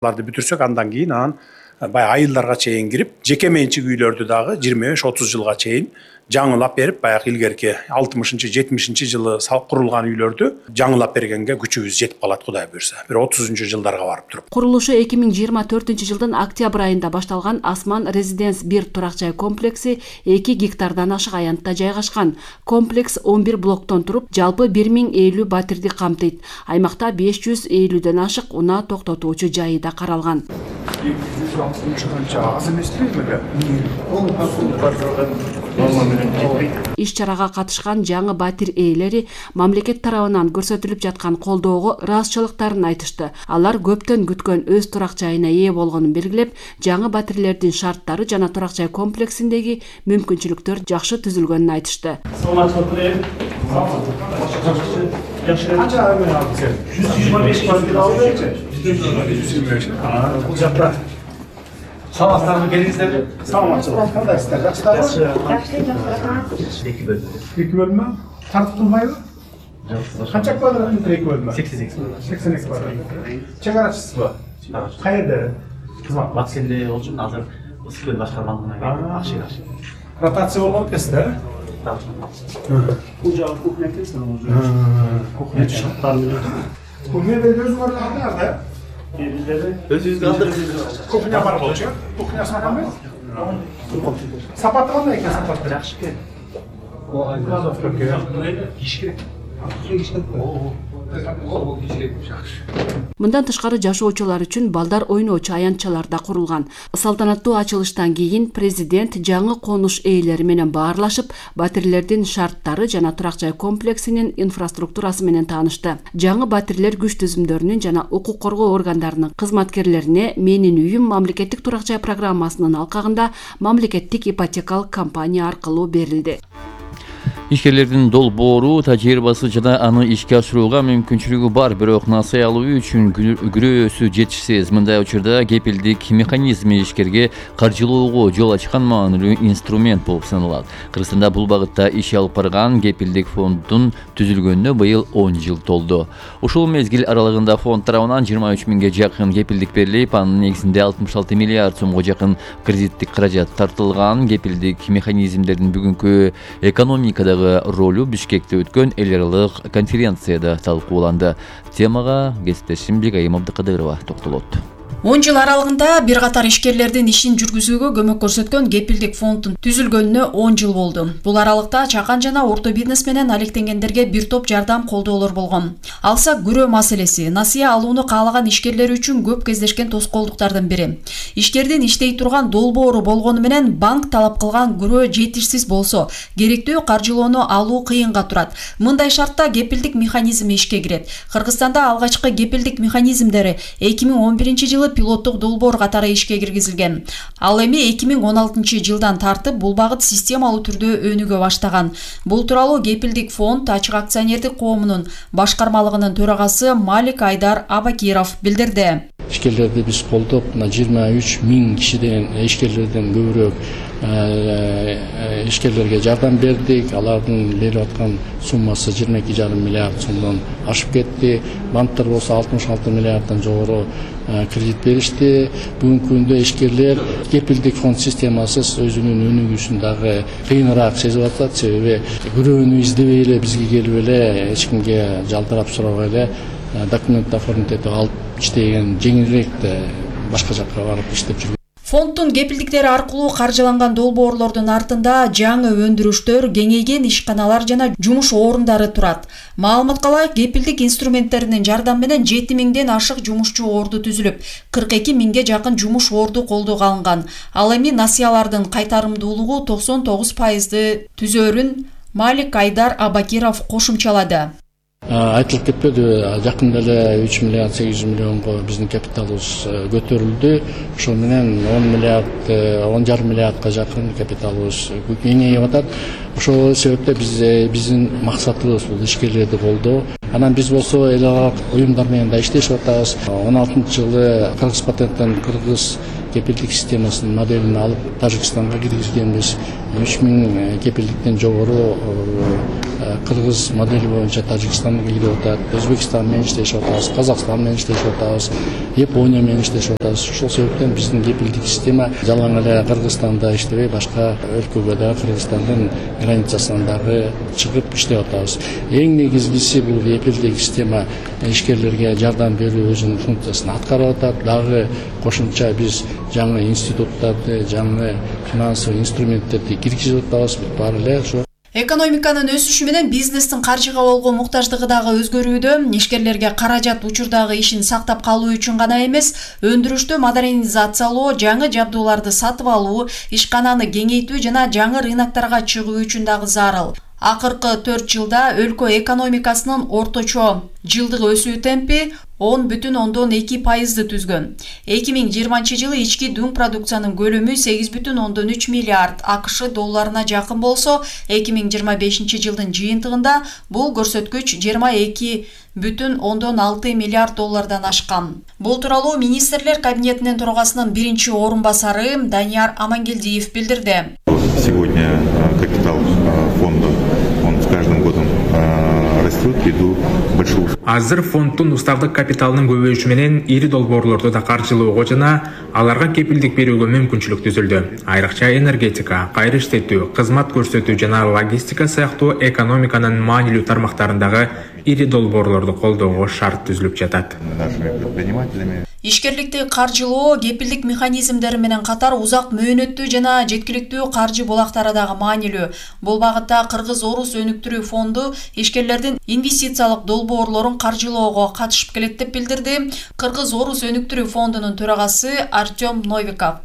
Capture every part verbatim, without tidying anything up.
Аларды бүтүрсөк, андан кийин анан баягы айылдарга чейин кирип, жеке менчик үйлөрдү дагы жыйырма беш отуз жылга чейин жаңылап берип, баягы илгерки алтымышынчы жетимишинчи жылы курулган үйлөрдү жаңылап бергенге күчүбүз жетип калат, Кудай буйрса. бир отузунчу жылдарга барып туруп. Курулушу эки миң жыйырма төртүнчү жылдын октябрь айында башталган Асман Резиденс бир турак жай комплекси эки гектардан ашык аянтта жайгашкан. Комплекс он бир блоктон туруп, жалпы бир миң элүү батирди камтыйт. Аймакта беш жүз элүүдөн ашык унаа токтотуучу жайы да каралган. Иш чарага катышкан жаңы батир ээлери мамлекет тарабынан көрсөтүлүп жаткан колдоого ыраазычылыктарын айтышты. Алар көптөн күткөн өз турак жайына ээ болгонун белгилеп, жаңы батирлердин шарттары жана турак жай комплексиндеги мүмкүнчүлүктөр жакшы түзүлгөнүн айтышты. Саламатсыздарбы, келиңиздерби? Саламатчылык, кандайсыздар? Жакшысыздарбы? Жакшы, жакшы. Эки бөлмө. Эки бөлмө? Тартылбайбы? Жок. Канча квадрат метр эки бөлмө? сексен эки. сексен эки квадрат. Чегарачысызбы? Каерде? Кызмат Батыс элде болчумун, азыр Ысык көл башкармалыгына Акшык Акшык. Ротация болгон экенсиз да? Бул жагы кухня экенсиз, кухня шарттары менен. Кухняда өзүң орногондор да? Өзүбүзгө алдык. Кухня бар болчу. Кухнясы кандай? Сапаты кандай экен, сапаты? Жакшы экен. Кладовка керек. Киш керек. Мындан тышкары жашоочулар үчүн балдар ойноочу аянтчалар да курулган. Салтанаттуу ачылыштан кийин президент жаңы конуш ээлери менен баарлашып, батирлердин шарттары жана турак жай комплексинин инфраструктурасы менен таанышты. Жаңы батирлер күч түзүмдөрүнүн жана укук коргоо органдарынын кызматкерлерине Менин үйүм мамлекеттик турак жай программасынын алкагында мамлекеттик ипотекалык компания аркылуу берилди. Ишкерлердин долбоору тажрыйбасы жана аны ишке ашырууга мүмкүнчүлүгү бар, бирок насыя алуу үчүн күрөөсү жетишсиз. Мындай учурда кепилдик механизми ишкерге каржылоого жол ачкан маанилүү инструмент болуп саналат. Кыргызстанда бул багытта иш алып барган кепилдик фонддун түзүлгөнүнө быйыл он жыл толду. Ушул мезгил аралыгында фонд тарабынан жыйырма үч миңге жакын кепилдик берилип, анын негизинде алтымыш алты миллиард сомго жакын кредиттик каражат тартылган. Кепилдик механизмдердин бүгүнкү экономикадагы ролу Бишкекте өткөн эл аралык конференцияда талкууланды. Темага кесиптешим Бегайым Абдыкадырова токтолот. он жыл аралыгында бир катар ишкерлердин ишин жүргүзүүгө көмөк көрсөткөн кепилдик фонддун түзүлгөнүнө он жыл болду. Бул аралыкта чакан жана орто бизнес менен алектенгендерге бир топ жардам колдоолор болгон. Алсак күрөө маселеси насыя алууну каалаган ишкерлер үчүн көп кездешкен тоскоолдуктардын бири. Ишкердин иштей турган долбоору болгону менен банк талап кылган күрөө жетишсиз болсо, керектүү каржылоону алуу кыйынга турат. Мындай шартта кепилдик механизми ишке кирет. Кыргызстанда алгачкы кепилдик механизмдери эки миң он биринчи жылы пилоттук долбоор катары ишке киргизилген. Ал эми эки миң он алтынчы жылдан тартып бул багыт системалуу түрдө өнүгө баштаган. Бул тууралуу кепилдик фонд ачык акционердик коомунун башкармалыгынын төрагасы Малик Айдар Абакиров билдирди. Ишкерлерди биз колдоп, жыйырма үч миң кишиден ишкерлерден көбүрөөк ишкерлерге жардам бердик. Алардын берип аткан суммасы жыйырма эки жарым миллиард сомдон ашып кетти. Банктар болсо алтымыш алты миллиарддан жогору кредит беришти. Бүгүнкү күндө ишкерлер кепилдик фонд системасыз өзүнүн өнүгүүсүн дагы кыйыныраак сезип атат. Себеби күрөөнү издебей эле бизге келип эле эч кимге жалдырап сурабай эле документ оформить этип алып иштеген жеңилирээк башка жакка барып иштеп жүргөн. Фонддун кепилдиктери аркылуу каржыланган долбоорлордун артында жаңы өндүрүштөр, кеңейген ишканалар жана жумуш орундары турат. Маалыматка ылайык, кепилдик инструменттеринин жардамы менен жети миңден ашык жумушчу орду түзүлүп, кырк эки миңге жакын жумуш орду колдоого алынган. Ал эми насыялардын кайтарымдуулугу токсон тогуз пайызды түзөрүн Малик Айдар Абакиров кошумчалады. Айтылып кетпеди, жакында эле үч миллиард сегиз жүз миллионго биздин капиталыбыз көтөрүлдү. Ошол менен он миллиард, он жарым миллиардка жакын капиталыбыз кеңейип атат. Ошол себептен биз биздин максатыбыз бул ишкерлерди колдоо. Анан биз болсо эл аралык уюмдар менен да иштешип атабыз. он алтынчы жылы Кыргыз патенттен Кыргыз кепилдик системасынын моделин алып Тажикстанга киргизгенбиз. үч миң кепилдиктен жогору Кыргыз модели боюнча Тажикстанга кирип атат. Өзбекстан менен иштешип атабыз, Казакстан менен иштешип атабыз, Япония менен иштешип атабыз. Ошол себептен биздин кепилдик система жалаң эле Кыргызстанда иштебей, башка өлкөгө да Кыргызстандын границасынан дагы чыгып иштеп атабыз. Эң негизгиси бул кепилдик система ишкерлерге жардам берүү өзүнүн функциясын аткарып атат. Дагы кошумча биз жаңы институттарды, жаңы финансовый инструменттерди киргизип атабыз. Баары эле ошо Экономиканын өсүшү менен бизнестин каржыга болгон муктаждыгы дагы өзгөрүүдө. Ишкерлерге каражат учурдагы ишин сактап калуу үчүн гана эмес, өндүрүштү модернизациялоо, жаңы жабдууларды сатып алуу, ишкананы кеңейтүү жана жаңы рыноктарга чыгуу үчүн дагы зарыл. Акыркы төрт жылда өлкө экономикасынын орточо жылдык өсүү темпи он бүтүн ондон эки пайызды түзгөн. эки миң жыйырманчы жылы ички дүң продукциянын көлөмү сегиз бүтүн ондон үч миллиард АКШ долларына жакын болсо, эки миң жыйырма бешинчи жылдын жыйынтыгында бул көрсөткүч жыйырма эки бүтүн ондон алты миллиард доллардан ашкан. Бул тууралуу министрлер кабинетинин төрагасынын биринчи орун басары Данияр Амангелдиев билдирди. Сегодня капитал фонда, он с каждым годом растет ввиду большого. Азыр фонддун уставдык капиталынын көбөйүшү менен ири долбоорлорду да каржылоого жана аларга кепилдик берүүгө мүмкүнчүлүк түзүлдү. Айрыкча энергетика, кайра иштетүү, кызмат көрсөтүү жана логистика сыяктуу экономиканын маанилүү тармактарындагы ири долбоорлорду колдоого шарт түзүлүп жатат. Ишкерликти каржылоо кепилдик механизмдери менен катар узак мөөнөттүү жана жеткиликтүү каржы булактары дагы маанилүү. Бул багытта Кыргыз-Орус өнүктүрүү фонду ишкерлердин инвестициялык долбоорлорун каржылоого катышып келет деп билдирди Кыргыз-Орус өнүктүрүү фондунун төрагасы Артем Новиков.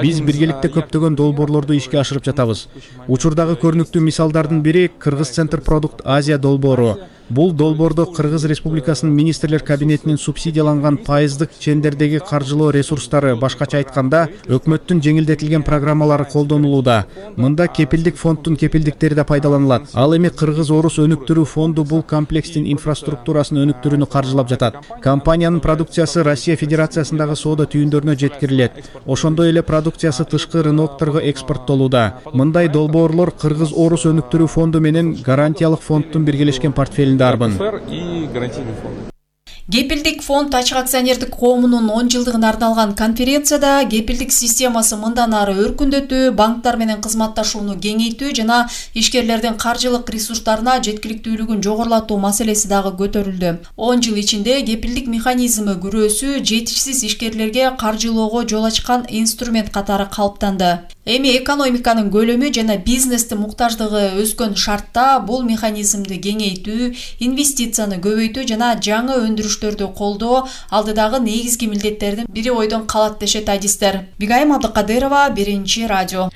Биз биргеликте көптөгөн долбоорлорду ишке ашырып жатабыз. Учурдагы көрүнүктүү мисалдардын бири Кыргыз Центр Продукт Азия долбоору. Бул долбоордо Кыргыз Республикасынын министрлер кабинетинин субсидияланган пайыздык чендердеги каржылоо ресурстары, башкача айтканда, өкмөттүн жеңилдетилген программалары колдонулууда. Мында кепилдик фонддун кепилдиктери да пайдаланылат. Ал эми Кыргыз-Орус өнүктүрүү фонду бул комплекстин инфраструктурасын өнүктүрүүнү каржылап жатат. Компаниянын продукциясы Россия Федерациясындагы соода түйүндөрүнө жеткирилет. Ошондой эле продукциясы тышкы рынокторго экспорттолууда. Мындай долбоорлор Кыргыз-Орус өнүктүрүү фонду менен гарантиялык фонддун биргелешкен портфелинде арбын. Кепилдик фонд ачык акционердик коомунун он жылдыгына арналган конференцияда кепилдик системасы мындан ары өркүндөтүү, банктар менен кызматташууну кеңейтүү жана ишкерлердин каржылык ресурстарына жеткиликтүүлүгүн жогорулатуу маселеси дагы көтөрүлдү. он жыл ичинде кепилдик механизми күрөөсү жетишсиз ишкерлерге каржылоого жол ачкан инструмент катары калыптанды. Эми экономиканын көлөмү жана бизнестин муктаждыгы өскөн шартта бул механизмди кеңейтүү, инвестицияны көбөйтүү жана жаңы өндүрүштөрдү колдоо алдыдагы негизги милдеттердин бири бойдон калат дешет адистер. Бигайым Абдыкадырова, Биринчи радио.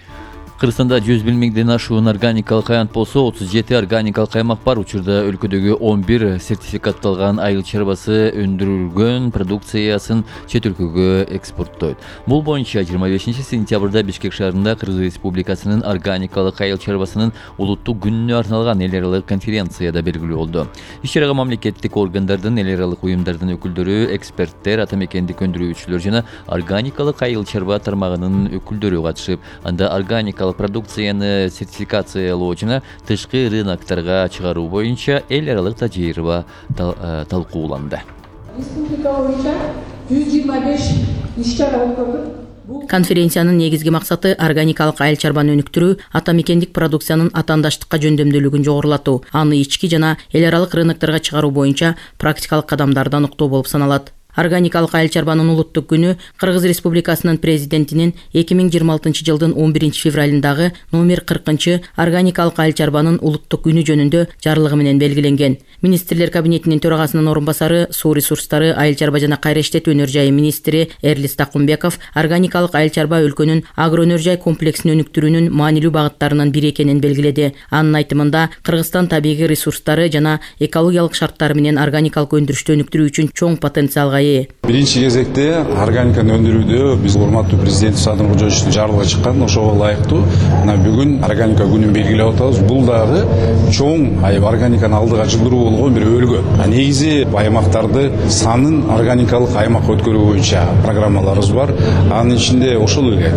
Кыргызстанда жүз миңден ашуун органикалык аянт болсо, отуз жети органикалык аймак бар. Учурда өлкөдөгү он бир сертификатталган айыл чарбасы өндүрүлгөн продукциясын чет өлкөгө экспорттойт. Бул боюнча жыйырма бешинчи сентябрда Бишкек шаарында Кыргыз Республикасынын органикалык айыл чарбасынын улуттук күнүнө арналган эл аралык конференцияда белгилүү болду. Иш-чарага мамлекеттик органдардын, эл аралык уюмдардын өкүлдөрү, эксперттер, ата мекендик өндүрүүчүлөр жана органикалык айыл чарба тармагынын өкүлдөрү катышып, анда органикалык продукцияны сертификациялоо жана тышкы рыноктарга чыгаруу боюнча эл аралык тажрыйба талкууланды. Республика боюнча жүз жыйырма беш иш-чара өткөрүлдү. Конференциянын негизги максаты органикалык айыл чарбаны өнүктүрүү, ата мекендик продукциянын атаандаштыкка жөндөмдүүлүгүн жогорулатуу, аны ички жана эл аралык рыноктарга чыгаруу боюнча практикалык кадамдарды аныктоо болуп саналат. Органикалык айыл чарбанын улуттук күнү Кыргыз Республикасынын президентинин эки миң жыйырма алтынчы жылдын он биринчи февралындагы номер кыркынчы органикалык айыл чарбанын улуттук күнү жөнүндө жарлыгы менен белгиленген. Министрлер кабинетинин төрагасынын орун басары, суу ресурстары, айыл чарба жана кайра иштетүү өнөр жайы министри Эрлис Такумбеков органикалык айыл чарба өлкөнүн агро өнөр жай комплексин өнүктүрүүнүн маанилүү багыттарынын бири экенин белгиледи. Анын айтымында Кыргызстан табигый ресурстары жана экологиялык шарттары менен органикалык өндүрүштү өнүктүрүү үчүн чоң потенциалга ээ. Биринчи кезекте органиканы өндүрүүдө биз урматтуу президент Садыр Кожоевичтин жарлыгы чыккан, ошого ылайыктуу мына бүгүн органика күнүн белгилеп атабыз. Бул дагы чоң аябай органиканы алдыга жылдыруу болгон бир өлгө. Негизи аймактарды санын органикалык аймакка өткөрүү боюнча программаларыбыз бар. Анын ичинде ошол эле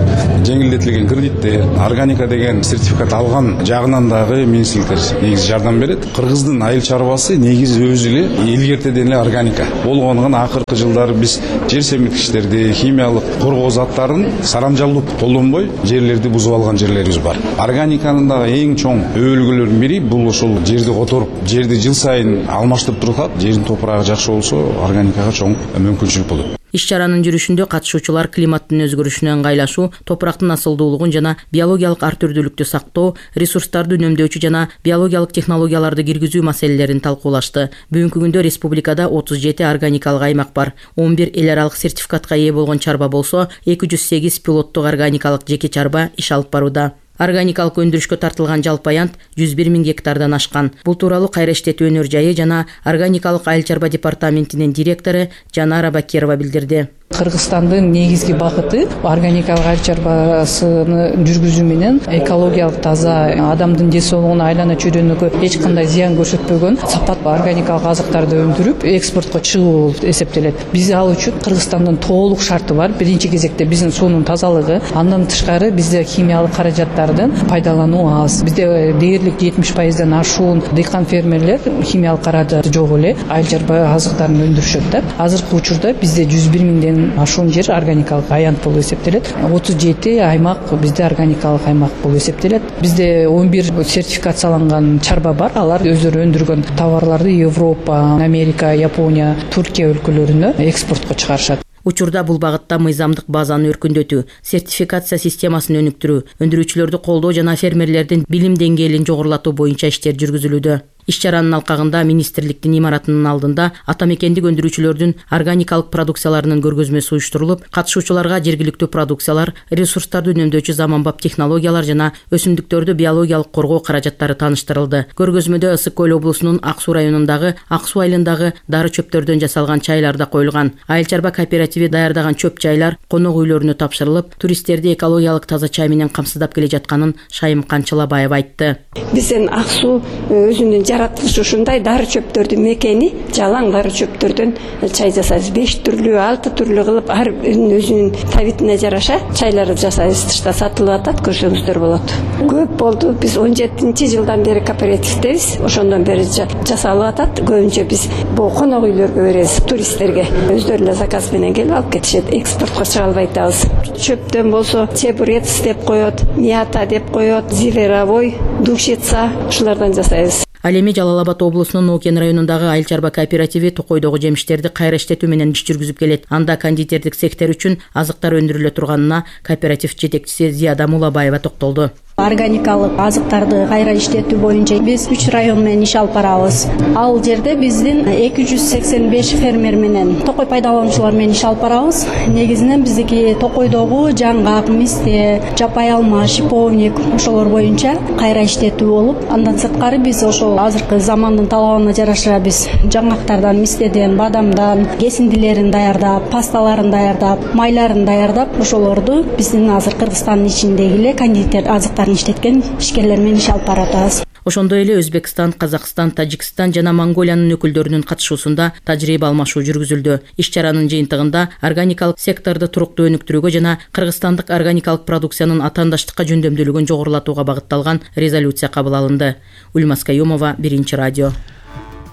жеңилдетилген кредиттер, органика деген сертификат алган жагынан дагы министрликтер негизи жардам берет. Кыргыздын айыл чарбасы негизи өзү эле илгертеден эле органика болгондуган акыркы жылдары биз жер семирткичтерди, химиялык коргоо заттарын сарамжалдуу колдонбой жерлерди бузуп алган жерлерибиз бар. Органиканын дагы эң чоң өбөлгөлөрүнүн бири бул ошол жерди которуп, жерди жыл сайын алмаштырып турсак, жердин топурагы жакшы болсо, органикага чоң мүмкүнчүлүк болот. Иш-чаранын жүрүшүндө катышуучулар климаттын өзгөрүшүнө ыңгайлашуу, топурактын асылдуулугун жана биологиялык ар түрдүүлүктү сактоо, ресурстарды үнөмдөөчү жана биологиялык технологияларды киргизүү маселелерин талкуулашты. Бүгүнкү күндө республикада отуз жети органикалык аймак бар. он бир эл аралык сертификатка ээ болгон чарба болсо, эки жүз сегиз пилоттук органикалык жеке чарба иш алып барууда. Органикалык өндүрүшкө тартылган жалпы аянт жүз бир миң гектардан ашкан. Бул тууралуу Кайра иштетүү өнөр жайы жана органикалык айыл чарба департаментинин директору Жанара Бакирова билдирди. Кыргызстандын негизги багыты органикалык айыл чарбасыны жүргүзүү менен экологиялык таза, адамдын ден соолугуна, айлана чөйрөнүккө эч кандай зыян көрсөтпөгөн сапаттуу органикалык азыктарды өндүрүп экспортко чыгуу болуп эсептелет. Биз ал үчүн Кыргызстандын толук шарты бар. Биринчи кезекте биздин суунун тазалыгы, андан тышкары бизде химиялык каражаттардын пайдалануу аз. Бизде дээрлик жетимиш пайыздан ашуун дыйкан фермерлер химиялык каражаты жок эле айыл чарба азыктарын өндүрүшөт да. Азыркы учурда бизде жүз бир миңден ашуун жер органикалык аянт болуп эсептелет. отуз жети аймак бизде органикалык аймак болуп эсептелет. Бизде он бир сертификацияланган чарба бар. Алар өздөрү өндүргөн товарларды Европа, Америка, Япония, Туркия өлкөлөрүнө экспортко чыгарышат. Учурда бул багытта мыйзамдык базаны өркүндөтүү, сертификация системасын өнүктүрүү, өндүрүүчүлөрдү колдоо жана фермерлердин билим деңгээлин жогорулатуу боюнча иштер жүргүзүлүүдө. Иш-чаранын алкагында министрликтин имаратынын алдында атамекендик өндүрүүчүлөрдүн органикалык продукцияларынын көргөзмөсү уюштурулуп, катышуучуларга жергиликтүү продукциялар, ресурстарды үнөмдөөчү заманбап технологиялар жана өсүмдүктөрдү биологиялык коргоо каражаттары тааныштырылды. Көргөзмөдө Ысык көл облусунун Ак Суу районундагы Ак Суу айылындагы дары чөптөрдөн жасалган чайлар да коюлган. Айыл чарба кооперативи даярдаган чөп чайлар конок үйлөрүнө тапшырылып, туристтерди экологиялык таза чай менен камсыздап келе жатканын Шайым Канчылабаева айтты. Биздин Ак Суу өзүнүн жаратылышы ушундай дары чөптөрдүн мекени, жалаң дары чөптөрдөн чай жасайбыз. беш түрлүү, алты түрлүү кылып ар өзүнүн табитине жараша чайларды жасайбыз. Тышта сатылып атат, көрсөңүздөр болот. Көп болду. Биз он жетинчи жылдан бери кооперативдебиз. Ошондон бери жасалып атат. Көбүнчө биз бул конок үйлөргө беребиз, туристтерге. Өздөрү эле заказ менен келип алып кетишет. Экспортко чыга албай атабыз. Чөптөн болсо чебурец деп коет, мята деп коет, зиверовой, душица, ушулардан жасайбыз. Ал эми Жалал Абад облусунун Нокен районундагы айыл чарба кооперативи токойдогу жемиштерди кайра иштетүү менен иш жүргүзүп келет. Анда кондитердик сектор үчүн азыктар өндүрүлө турганына кооператив жетекчиси Зияда Мулабаева токтолду. Органикалык азыктарды кайра иштетүү боюнча биз үч район менен иш алып барабыз. Ал жерде биздин эки жүз сексен беш фермер менен токой пайдалануучулар менен иш алып барабыз. Негизинен биздики токойдогу жаңгак, мисте, жапай алма, шиповник ошолор боюнча кайра иштетүү болуп, андан сырткары биз ошол азыркы замандын талабына жараша биз жаңгактардан, мистеден, бадамдан кесиндилерин даярдап, пасталарын даярдап, майларын даярдап, ошолорду биздин азыр Кыргызстандын ичиндеги эле кондитер азыктар иштеткен ишкерлер менен иш алып баратабыз. Ошондой эле Өзбекстан, Казакстан, Тажикстан жана Монголиянын өкүлдөрүнүн катышуусунда тажрыйба алмашуу жүргүзүлдү. Иш-чаранын жыйынтыгында органикалык секторду туруктуу өнүктүрүүгө жана кыргызстандык органикалык продукциянын атаандаштыкка жөндөмдүүлүгүн жогорулатууга багытталган резолюция кабыл алынды. Ульмас Каюмова, Биринчи радио.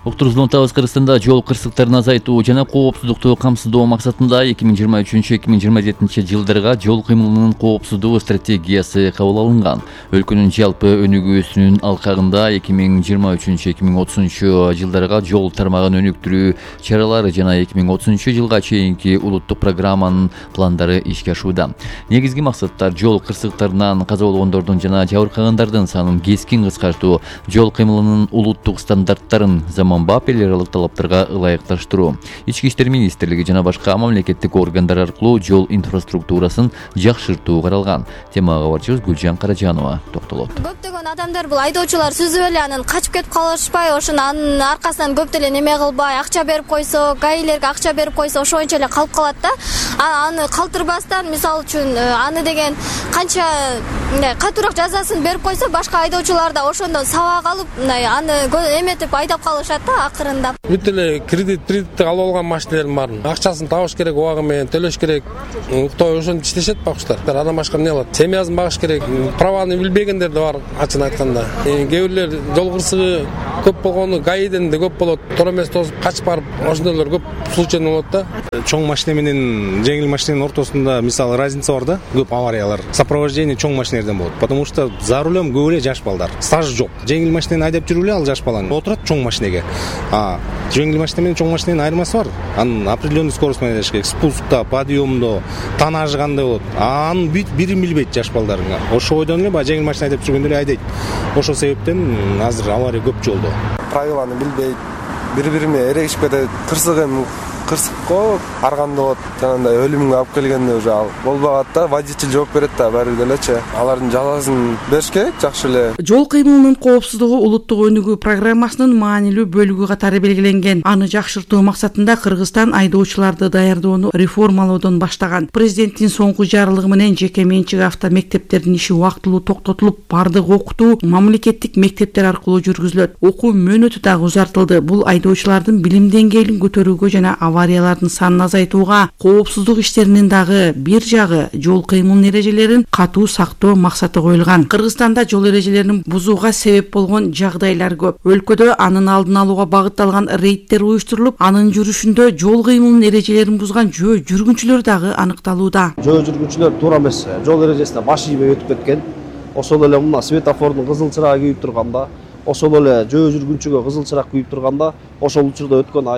Уктурузун табыз Кыргызстанда жол кырсыктарын азайтуу жана коопсуздукту камсыздоо максатында эки миң жыйырма үчүнчү эки миң жыйырма жетинчи жылдарга жол кыймылынын коопсуздугу стратегиясы кабыл алынган. Өлкөнүн жалпы өнүгүүсүнүн алкагында эки миң жыйырма үчүнчү эки миң отузунчу жылдарга жол тармагын өнүктүрүү чаралары жана эки миң отузунчу жылга чейинки улуттук программанын пландары ишке ашууда. Негизги максаттар жол кырсыктарынан каза болгондордун жана жабыркагандардын санын кескин кыскартуу, жол кыймылынын улуттук стандарттарын заман заманбап эл аралык талаптарга ылайыкташтыруу. Ички иштер министрлиги жана башка мамлекеттик органдар аркылуу жол инфраструктурасын жакшыртуу каралган. Темага кабарчыбыз Гүлжан Каражанова токтолот. Көптөгөн адамдар бул айдоочулар сүзүп эле анан качып кетип калышпай, ошонун анын аркасынан көп деле неме кылбай, акча берип койсо, гаилерге акча берип койсо, ошончо эле калып калат да. Аны калтырбастан, мисалы үчүн, аны деген канча катуураак жазасын берип койсо, башка айдоочулар да ошондон сабак алып, аны эметип айдап калышат да акырында. Бүт эле кредит, кредитти алып алган машиналардын баарын акчасын табыш керек, убагы менен төлөш керек. Той ошентип иштешет бакчылар. Андан башка эмне кылат? Семьясын багыш керек. Праваны билбегендер да бар, ачык айтканда. Кээ бирлер жол кырсыгы көп болгону гаиден да көп болот. Туура эмес тосуп качып барып, ошондойлор көп случай болот да. Чоң машина менен жеңил машинанын ортосунда мисалы разница бар да, көп авариялар. Сопровождение чоң машиналардан болот. Потому что за рулем көп эле жаш балдар. Стаж жок. Жеңил машинаны айдап жүрүп эле ал жаш баланы отурат чоң машинеге. А жеңил машина менен чоң машинанын айырмасы бар. Анын определенный скорость менен айдаш керек. Спускта, подъемдо, тоннажы кандай болот. Анын бүт бирин билбейт жаш балдардың. Ошо ойдон эле баягы жеңил машина айдап жүргөндө эле айдайт. Ошол себептен азыр авария көп жолдо. Правиланы билбейт, бири-бирине эрегишип кетет. Кырсык эми кырсыкко ар кандай болот, жанагындай өлүмгө алып келгенде уже ал болбогат да, водитель жооп берет да баары бир делечи. Алардын жазасын бериш керек жакшы эле. Жол кыймылынын коопсуздугу улуттук өнүгүү программасынын маанилүү бөлүгү катары белгиленген. Аны жакшыртуу максатында Кыргызстан айдоочуларды даярдоону реформалоодон баштаган. Президенттин соңку жарлыгы менен жеке менчик автомектептердин иши убактылуу токтотулуп, бардык окутуу мамлекеттик мектептер аркылуу жүргүзүлөт. Окуу мөөнөтү дагы узартылды. Бул айдоочулардын билим деңгээлин көтөрүүгө жана авариялардын санын азайтууга, коопсуздук иштеринин дагы бир жагы жол кыймыл эрежелерин катуу сактоо максаты коюлган. Кыргызстанда жол эрежелерин бузууга себеп болгон жагдайлар көп. Өлкөдө анын алдын алууга багытталган рейдтер уюштурулуп, анын жүрүшүндө жол кыймылынын эрежелерин бузган жөө жүргүнчүлөр дагы аныкталууда. Жөө жүргүнчүлөр туура эмес жол эрежесине баш ийбей өтүп кеткен. Ошол эле мына светофордун кызыл чырагы күйүп турганда, ошол эле жөө жүргүнчүгө кызыл чырак күйүп турганда, ошол учурда өткөн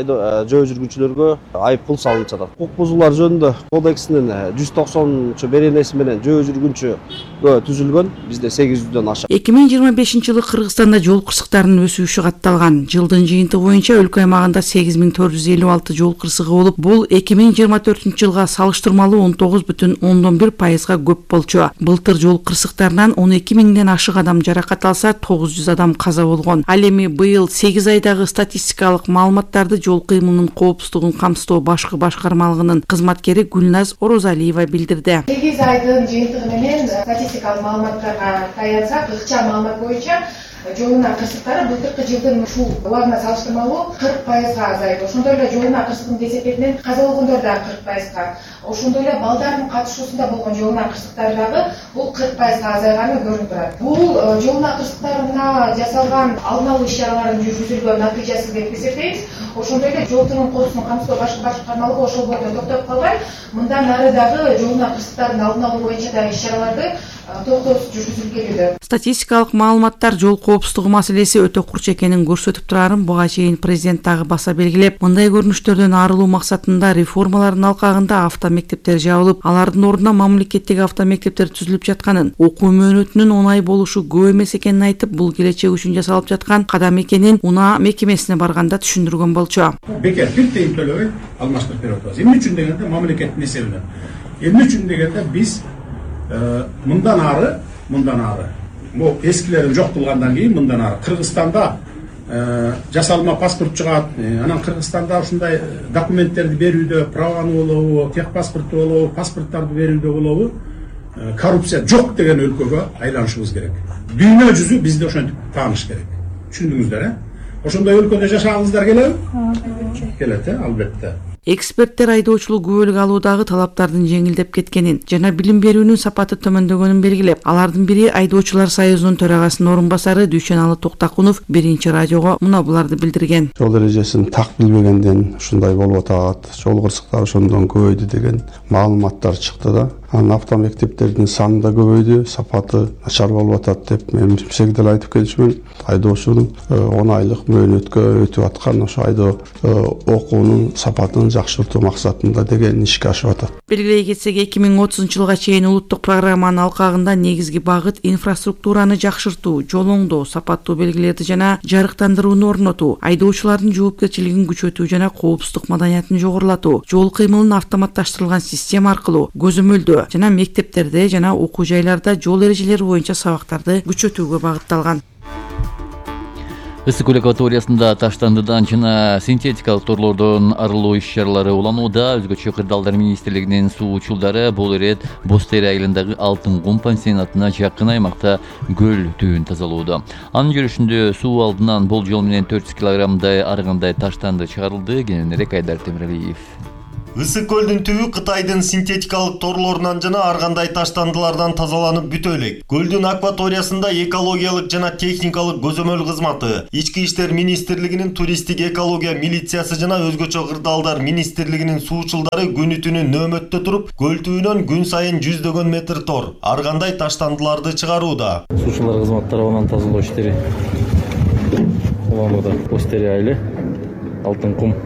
жөө жүргүнчүлөргө айып пул салынып жатат. Укук бузуулар жөнүндө кодексинин жүз токсонунчу беренеси менен жөө жүргүнчүгө түзүлгөн, бизде сегиз жүздөн ашык. эки миң жыйырма бешинчи жылы Кыргызстанда жол кырсыктарынын өсүшү катталган. Жылдын жыйынтыгы боюнча өлкө аймагында сегиз миң төрт жүз элүү алты жол кырсыгы болуп, бул эки миң жыйырма төртүнчү жылга салыштырмалуу он тогуз бүтүн ондон бир пайызга көп болчу. Былтыр жол кырсыктарынан он эки миңден ашык адам жаракат алса, тогуз жүз адам каза болгон. Ал эми быйыл сегиз айдагы статистикалык маалыматтарды жол кыймылынын коопсуздугун камсыздоо башкы башкармалыгынын кызматкери Гүлназ Орозалиева билдирди. сегиз айдын жыйынтыгы менен статистикалык маалыматтарга таянсак, ыкча маалымат боюнча жолуна кырсыктары былтыркы жылдын ушул убагына салыштырмалуу кырк пайызга азайып, ошондой эле жолуна кырсыктын кесепетинен каза болгондор дагы кырк пайызга, ошондой эле балдардын катышуусунда болгон жолуна кырсыктар дагы бул кырк пайызга азайганы көрүнүп турат. Бул жолуна кырсыктарына жасалган алдын алуу иш-чараларынын жүргүзүлгөн натыйжасы деп эсептейбиз. Ошондой эле жол түрүнүн коопсуздугун камсыздоо башкы башкармалыгы ошол бойдон токтоп калбай, мындан ары дагы жолуна кырсыктардын алдын алуу боюнча дагы иш-чараларды токтоосуз жүргүзүлүп келүүдө. Статистикалык маалыматтар жол коопсуздугу маселеси өтө курч экенин көрсөтүп турарын буга чейин президент дагы баса белгилеп, мындай көрүнүштөрдөн арылуу максатында реформалардын алкагында автомектептер жабылып, алардын ордуна мамлекеттик автомектептер түзүлүп жатканын, окуу мөөнөтүнүн оңай болушу көп эмес экенин айтып, бул келечек үчүн жасалып жаткан кадам экенин унаа мекемесине барганда түшүндүргөн болчу. Бекер бир тыйын төлөбөй алмаштырып берип атабыз. Эмне үчүн дегенде мамлекеттин эсебинен. Эмне үчүн дегенде биз мындан ары, мындан ары, бул эскилерин жок кылгандан кийин мындан ары Кыргызстанда жасалма паспорт чыгат, анан Кыргызстанда ушундай документтерди берүүдө, праваны болобу, тех паспорту болобу, паспорттарды берүүдө болобу, коррупция жок деген өлкөгө айланышыбыз керек. Дүйнө жүзү бизди ошентип тааныш керек. Түшүндүңүздөр, э? Ошондой өлкөдө жашагыңыздар келеби? Келет, э, албетте. Эксперттер айдоочулук күбөлүк алуудагы талаптардын жеңилдеп кеткенин жана билим берүүнүн сапаты төмөндөгөнүн белгилеп, алардын бири айдоочулар союзунун төрагасынын орун басары Дүйшөналы Токтакунов биринчи радиого мына буларды билдирген. Жол эрежесин так билбегенден ушундай болуп атат, жол кырсыктары ошондон көбөйдү деген маалыматтар чыкты да. Анан автомектептердин саны да көбөйдү, сапаты начар болуп атат деп мен мисек деле айтып келчүмүн. Айдоочунун он айлык мөөнөткө өтүп аткан ошо айдоо окуунун сапатын жакшыртуу максатында деген ишке ашып атат. Белгилей кетсек, эки миң отузунчу жылга чейин улуттук программанын алкагында негизги багыт инфраструктураны жакшыртуу, жол оңдоо, сапаттуу белгилерди жана жарыктандырууну орнотуу, айдоочулардын жоопкерчилигин күчөтүү жана коопсуздук маданиятын жогорулатуу, жол кыймылын автоматташтырылган система аркылуу көзөмөлдөө жана мектептерде жана окуу жайларда жол эрежелери боюнча сабактарды күчөтүүгө багытталган. Ысык көл акваториясында таштандыдан жана синтетикалык торлордон арылуу иш-чаралары уланууда. Өзгөчө кырдаалдар министрлигинин суу учулдары бул ирет Бостери айылындагы Алтын кум пансионатына жакын аймакта көл түбүн тазалоодо. Анын жүрүшүндө суу алдынан болжол менен төрт жүз килограммдай ар кандай таштанды чыгарылды. Кененирээк Айдар Темиралиев. Ысык көлдүн түбү Кытайдын синтетикалык торлорунан жана ар кандай таштандылардан тазаланып бүтө элек. Көлдүн акваториясында экологиялык жана техникалык көзөмөл кызматы, Ички иштер министрлигинин туристтик экология милициясы жана өзгөчө кырдаалдар министрлигинин суучулдары күнү түнү нөөмөттө туруп, көл түбүнөн күн сайын жүздөгөн метр тор, ар кандай таштандыларды чыгарууда. Суучулар кызматы тарабынан тазалоо иштери уланууда. Бостери айылы, Алтын кум.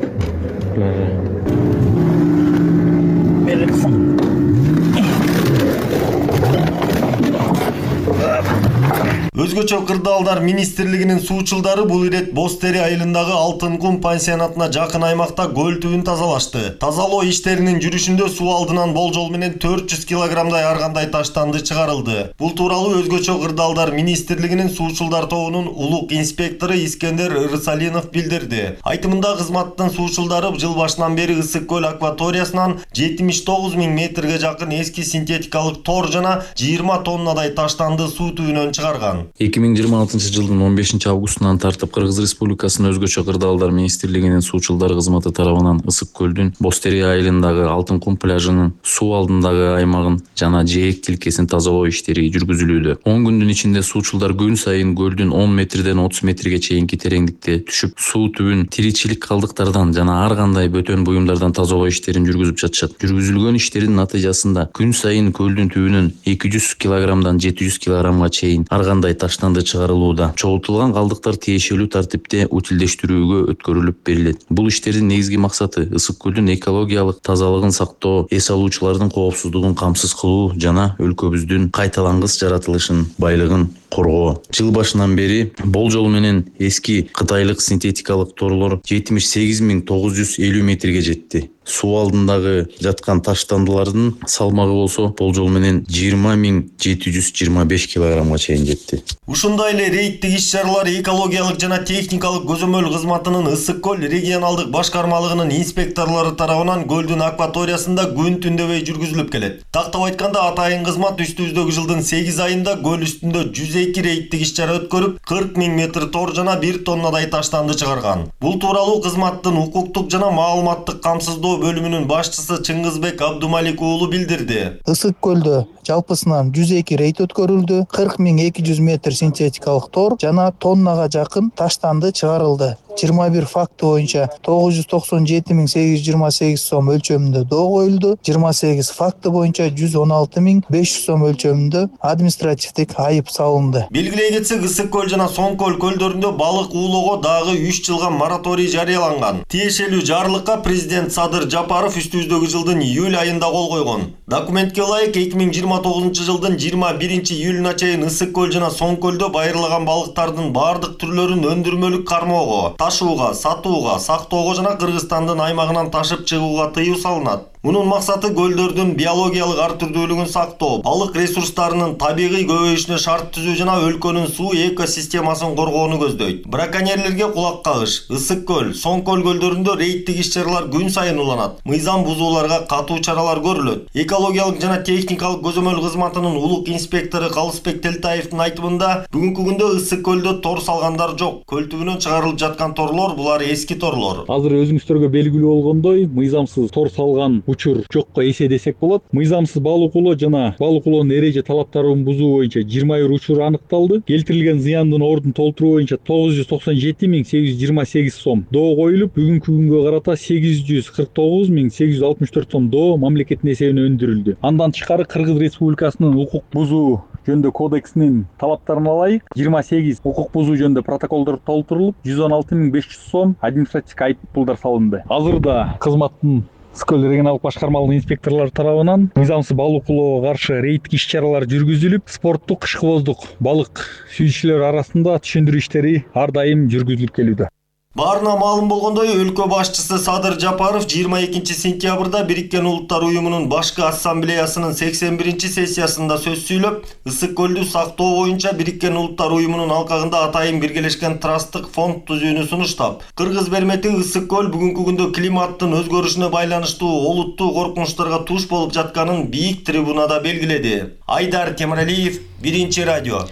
Өзгөчө кырдаалдар министрлигинин суучулдары бул ирет Бостери айылындагы Алтын кум пансионатына жакын аймакта көл түбүн тазалашты. Тазалоо иштеринин жүрүшүндө суу алдынан болжол менен төрт жүз килограммдай ар кандай таштанды чыгарылды. Бул тууралуу өзгөчө кырдаалдар министрлигинин суучулдар тобунун улук инспектору Искендер Ырсалинов билдирди. Айтымында кызматтын суучулдары жыл башынан бери Ысык көл акваториясынан жетимиш тогуз миң метрге жакын эски синтетикалык тор жана жыйырма тоннадай таштанды суу түбүнөн чыгарган. эки миң жыйырма алтынчы жылдын он бешинчи августунан тартып Кыргыз Республикасынын өзгөчө кырдаалдар министрлигинин суучулдар кызматы тарабынан Ысык көлдүн Бостери айылындагы Алтын кум пляжынын суу алдындагы аймагын жана жээк тилкесин тазалоо иштери жүргүзүлүүдө. он күндүн ичинде суучулдар күн сайын көлдүн он метрден отуз метрге чейинки тереңдикте түшүп, суу түбүн тиричилик калдыктардан жана ар кандай бөтөн буюмдардан тазалоо иштерин жүргүзүп жатышат. Жүргүзүлгөн иштердин натыйжасында күн сайын көлдүн түбүнөн эки жүз килограммдан жети жүз килограммга чейин ар кандай таштанды чыгарылууда. Чогултулган калдыктар тиешелүү тартипте утилдештирүүгө өткөрүлүп берилет. Бул иштердин негизги максаты Ысык көлдүн экологиялык тазалыгын сактоо, эс алуучулардын коопсуздугун камсыз кылуу жана өлкөбүздүн кайталангыс жаратылышын, байлыгын коргоо. Жыл башынан бери болжол менен эски кытайлык синтетикалык торлор жетимиш сегиз миң тогуз жүз элүү метрге жетти. Суу алдындагы жаткан таштандылардын салмагы болсо болжол менен жыйырма миң жети жүз жыйырма беш килограммга чейин жетти. Ушундай эле рейдтик иш-чаралар экологиялык жана техникалык көзөмөл кызматынын Ысык көл регионалдык башкармалыгынын инспекторлору тарабынан көлдүн акваториясында күн түндөбөй жүргүзүлүп келет. Тактап айтканда атайын кызмат үстүбүздөгү жылдын сегиз айында көл үстүндө жүз эки рейдтик иш-чара өткөрүп, кырк миң метр тор жана бир тоннадай таштанды чыгарган. Бул тууралуу кызматтын укуктук жана маалыматтык камсыздоо бөлүмүнүн башчысы Чыңгызбек Абдумалик уулу билдирди. Ысык көлдө жалпысынан жүз эки рейд өткөрүлдү, кырк миң эки жүз метр синтетикалык тор жана тоннага жакын таштанды чыгарылды. жыйырма бир факты боюнча тогуз жүз токсон жети миң сегиз жүз жыйырма сегиз сом өлчөмүндө доо коюлду. жыйырма сегиз факты боюнча жүз он алты миң беш жүз сом өлчөмүндө административдик айып салынды. Белгилей кетсек, Ысык көл жана Соң көл көлдөрүндө балык уулоого дагы үч жылга мораторий жарыяланган. Тиешелүү жарлыкка президент Садыр Жапаров үстүбүздөгү жылдын июль айында кол койгон. Документке ылайык эки миң жыйырма тогузунчу жылдын жыйырма биринчи июлуна чейин Ысык көл жана Соң көлдө байырлаган балыктардын бардык түрлөрүн өндүрмөлүк кармоого, ташууга, сатууга, сактоого жана Кыргызстандын аймагынан ташып чыгууга тыюу салынат. Мунун максаты көлдөрдүн биологиялык ар түрдүүлүгүн сактоо, балык ресурстарынын табигый көбөйүшүнө шарт түзүү жана өлкөнүн суу экосистемасын коргоону көздөйт. Браконьерлерге кулак кагыш. Ысык көл, Соң көл көлдөрүндө рейдтик иш-чаралар күн сайын уланат. Мыйзам бузууларга катуу чаралар көрүлөт. Экологиялык жана техникалык көзөмөл кызматынын улук инспектору Калысбек Телтаевдин айтымында, бүгүнкү күндө Ысык көлдө тор салгандар жок. Көл түбүнөн чыгарылып жаткан торлор булар эски торлор. Азыр өзүңүздөргө белгилүү болгондой, мыйзамсыз тор салган учур жокко эсе десек болот. Мыйзамсыз балык улоо жана балык улоонун эреже талаптарын бузуу боюнча жыйырма бир учур аныкталды. Келтирилген зыяндын ордун толтуруу боюнча тогуз жүз токсон жети миң сегиз жүз жыйырма сегиз сом доо коюлуп, бүгүнкү күнгө карата сегиз жүз кырк тогуз миң сегиз жүз алтымыш төрт сом доо мамлекеттин эсебине өндүрүлдү. Андан тышкары Кыргыз Республикасынын укук бузуу жөнүндө кодексинин талаптарына ылайык жыйырма сегиз укук бузуу жөнүндө протоколдор толтурулуп, жүз он алты миң беш жүз сом административдик айыппулдар салынды. Азырда кызматтын Скөл регионалдык башкармалык инспекторлор тарабынан мыйзамсыз балык улоого каршы рейдтик иш-чаралар жүргүзүлүп, спорттук ышкыбоздук балык сүйүүчүлөр арасында түшүндүрүү иштери ар дайым жүргүзүлүп келүүдө. Баарына маалым болгондой, өлкө башчысы Садыр Жапаров жыйырма экинчи сентябрда Бириккен Улуттар Уюмунун башкы ассамблеясынын сексен биринчи сессиясында сөз сүйлөп, ысык көлдү сактоо боюнча Бириккен Улуттар Уюмунун алкагында атайын биргелешкен трасттык фонд түзүүнү сунуштап, Кыргыз бермети ысык көл бүгүнкү күндө климаттын өзгөрүшүнө байланыштуу олуттуу коркунучтарга туш болуп жатканын бийик трибунада белгиледи. Айдар Темиралиев, Биринчи радио.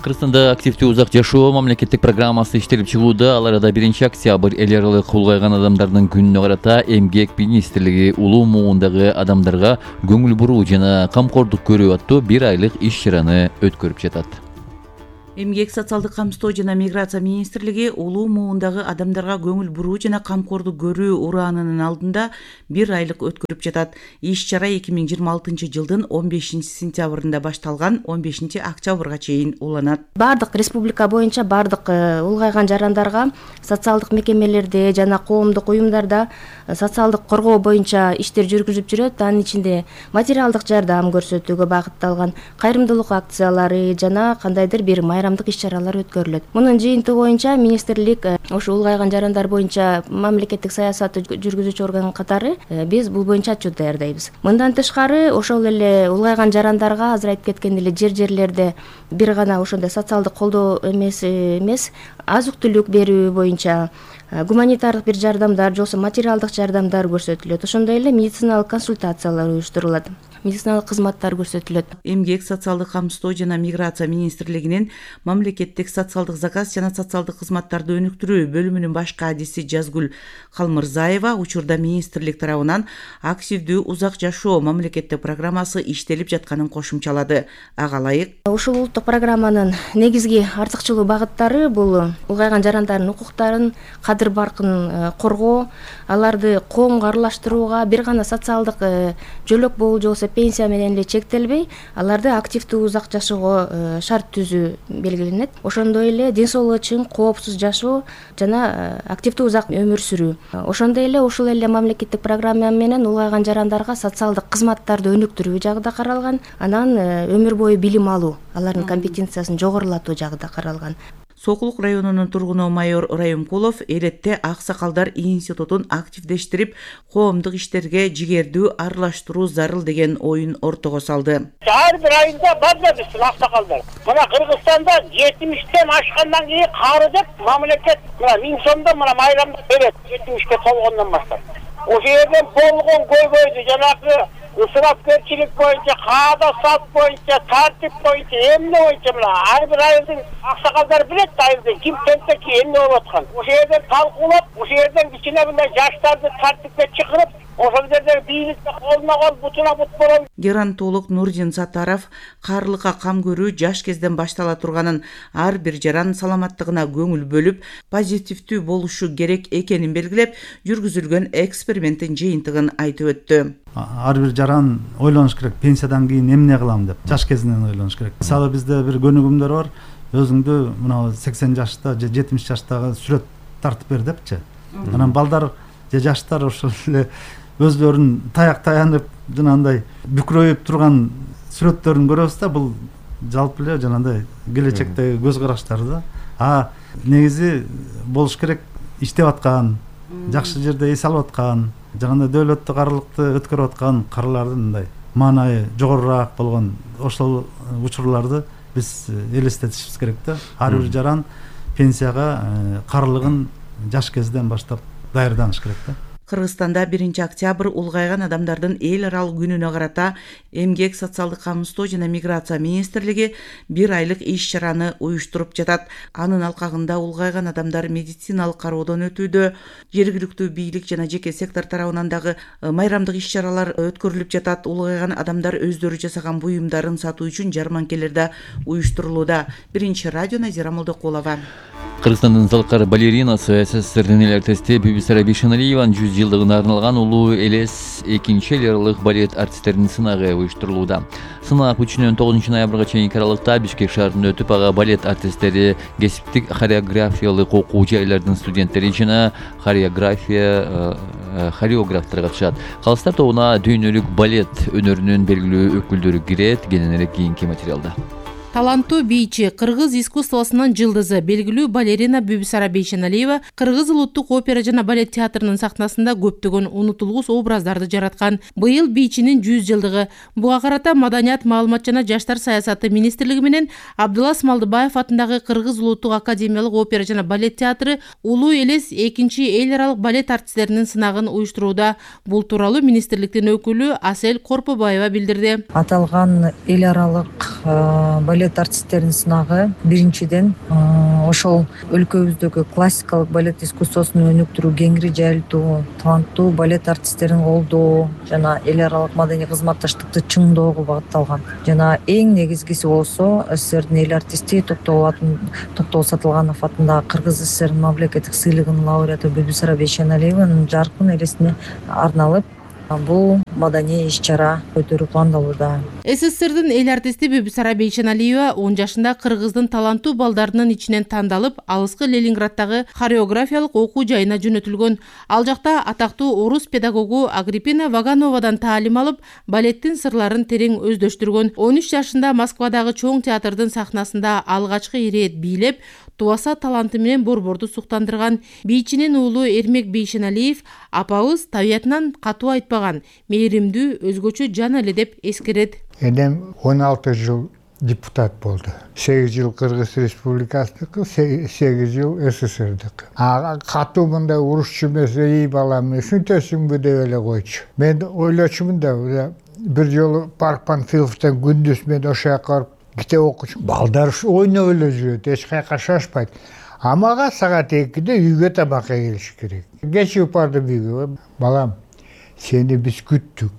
Кыргызстанда активдүү узак жашоо мамлекеттик программасы иштелип чыгууда. Ал арада биринчи октябрь эл аралык улгайган адамдардын күнүнө карата Эмгек министрлиги улуу муундагы адамдарга көңүл буруу жана камкордук көрүү аттуу бир айлык иш-чараны өткөрүп жатат. Эмгек социалдык камсыздоо жана миграция министрлиги улуу муундагы адамдарга көңүл буруу жана камкордук көрүү ураанынын алдында бир айлык өткөрүп жатат. Иш-чара эки миң жыйырма алтынчы жылдын он бешинчи сентябрында башталган, он бешинчи октябрга чейин уланат. Бардык республика боюнча бардык улгайган жарандарга социалдык мекемелерде жана коомдук уюмдарда социалдык коргоо боюнча иштер жүргүзүп жүрөт. Анын ичинде материалдык жардам көрсөтүүгө багытталган кайрымдуулук акциялары жана кандайдыр бир майрамдык иш-чаралар өткөрүлөт. Мунун жыйынтыгы боюнча министрлик ошо улгайган жарандар боюнча мамлекеттик саясатты жүргүзүүчү орган катары биз бул боюнча отчет даярдайбыз. Мындан тышкары ошол эле улгайган жарандарга азыр айтып кеткен эле жер-жерлерде бир гана ошондой социалдык колдоо эмес эмес азык-түлүк берүү боюнча гуманитардык бир жардамдар, жоксо материалдык жардамдар көрсөтүлөт. Ошондой эле медициналык консультациялар уюштурулат. Медициналык кызматтар көрсөтүлөт. Эмгек социалдык камсыздоо жана миграция министрлигинин мамлекеттик социалдык заказ жана социалдык кызматтарды өнүктүрүү бөлүмүнүн башкы адиси Жазгүл Калмырзаева учурда министрлик тарабынан активдүү узак жашоо мамлекеттик программасы иштелип жатканын кошумчалады. Ага ылайык ушул улуттук программанын негизги артыкчылуу багыттары бул улгайган жарандардын укуктарын, кадыр баркын коргоо, аларды коомго аралаштырууга, бир гана социалдык жөлөк болуу жоксо пенсия менен эле чектелбей, аларды активдүү узак жашоого шарт түзүү белгиленет. Ошондой эле ден соолугу чың, коопсуз жашоо жана активдүү узак өмүр сүрүү. Ошондой эле ушул эле мамлекеттик программа менен улгайган жарандарга социалдык кызматтарды өнүктүрүү жагы да каралган, анан өмүр бою билим алуу, алардын компетенциясын жогорулатуу жагы да каралган. Сокулук районунун тургуну майор Райымкулов элетте аксакалдар институтун активдештирип, коомдук иштерге жигердүү аралаштыруу зарыл деген оюн ортого салды. Ар бир айында бар да биздин аксакалдар. Мына Кыргызстанда жетимиштен ашкандан кийин кары деп мамлекет мына миң сомдон мына майрамды берет жетимишке толгондон баштап. Ошол жерден болгон көйгөйдү жанагы ысырапкерчилик боюнча, каада салт боюнча, тартип боюнча, эмне боюнча мына ар бир айылдын аксакалдар билет айылдын ким тентеки эмне болуп аткан. Ошол жерден талкуулап, ошол жерден кичине мындай жаштарды тартипке чакырып, ошол жерде бийликте колуна кол, бутуна бут болот. Геронтолог Нурдин Сатаров карлыкка кам көрүү жаш кезден баштала турганын, ар бир жаран саламаттыгына көңүл бөлүп, позитивдүү болушу керек экенин белгилеп, жүргүзүлгөн эксперименттин жыйынтыгын айтып өттү. Ар бир жаран ойлонуш керек, пенсиядан кийин эмне кылам деп, жаш кезинен ойлонуш керек. Мисалы бизде бир көнүгүмдөр бар, өзүңдү мына сексен жашта же жетимиш жаштагы сүрөт тартып бер депчи. Анан балдар же жаштар ошол эле өзлөрүн таяк таянып, жанагындай бүкрөйүп турган сүрөттөрүн көрөбүз да, бул жалпы эле жанагындай келечектеги көз караштар да. А негизи болуш керек иштеп аткан, жакшы жерде эс алып аткан, жанагындай дөөлөттүк аралыкты өткөрүп аткан карлардын мындай маанайы жогорураак болгон ошол учурларды биз элестетишибиз керек да. Ар бир жаран пенсияга карлыгын жаш кезден баштап даярданыш керек да. Кыргызстанда биринчи октябрь улгайган адамдардын эл аралык күнүнө карата Эмгек, социалдык камсыздоо жана миграция министрлиги бир айлык иш-чараны уюштуруп жатат. Анын алкагында улгайган адамдар медициналык кароодон өтүүдө, жергиликтүү бийлик жана жеке сектор тарабынан дагы майрамдык иш-чаралар өткөрүлүп жатат. Улгайган адамдар өздөрү жасаган буюмдарын сатуу үчүн жарманкелер да уюштурулууда. Биринчи радио Назира Молдокулова. Кыргызстандын залкар балеринасы СССРдин эл артисти Бибисара Бейшеналиеванын жүз жылдыгына арналган улуу элес экинчи эл аралык балет артисттеринин сынагы уюштурулууда. Сынак үчүнөн тогузунчу ноябрга чейинки аралыкта Бишкек шаарында өтүп, ага балет артисттери, кесиптик хореографиялык окуу жайлардын студенттери жана хореография хореографтар катышат. Калыстар тобуна дүйнөлүк балет өнөрүнүн белгилүү өкүлдөрү кирет. Кененирээк кийинки материалда. Таланттуу бийчи, кыргыз искусствосунун жылдызы, белгилүү балерина Бибисара Бейшеналиева Кыргыз улуттук опера жана балет театрынын сахнасында көптөгөн унутулгус образдарды жараткан. Быйыл бийчинин жүз жылдыгы. Буга карата Маданият, маалымат жана жаштар саясаты министрлиги менен Абдулас Малдыбаев атындагы Кыргыз улуттук академиялык опера жана балет театры улуу элес экинчи эл аралык балет артисттеринин сынагын уюштурууда. Бул тууралуу министрликтин өкүлү Асель Корпобаева билдирди. Аталган эл аралык балет артисттеринин сынагы биринчиден ошол өлкөбүздөгү классикалык балет искусствосун өнүктүрүү, кеңири жайылтуу, таланттуу балет артисттерин колдоо жана эл аралык маданий кызматташтыкты чыңдоого багытталган. Жана эң негизгиси болсо СССРдин эл артисти Токтогул Сатылганов атындагы Кыргыз СССР мамлекеттик сыйлыгынын лауреаты Бибисара Бейшеналиеванын жаркын элесине арналып бул маданий иш-чара өтөрү пландалууда. СССРдин эл артисти Бибисара Бейшеналиева он жашында Кыргыздын таланттуу балдарынын ичинен тандалып, алыскы Ленинградтагы хореографиялык окуу жайына жөнөтүлгөн. Ал жакта атактуу орус педагогу Агриппина Вагановадан таалим алып, балеттин сырларын терең өздөштүргөн. он үч жашында Москвадагы чоң театрдын сахнасында алгачкы ирет бийлеп, туаса таланты менен борборду суктандырган. Бийчинин уулу Эрмек Бейшеналиев апабыз табиятынан катуу айтпаган, мээримдүү, өзгөчө жан эле деп эскерет. Энем он алты жыл депутат болду. сегиз жыл Кыргыз Республикасыныкы, сегиз жыл СССРдики. А катуу мындай урушчу эмес, ий балам, ушинтесиңби деп эле койчу. Мен ойлочумун да, бир жолу Парк Панфиловдон күндүз мен ошол жака барып китеп окучумун. Балдар ойноп эле жүрөт, эч кайка шашпайт. А мага саат экиде үйгө тамакка келиш керек. Кечип бардым үйгө. Балам, сени биз күттүк.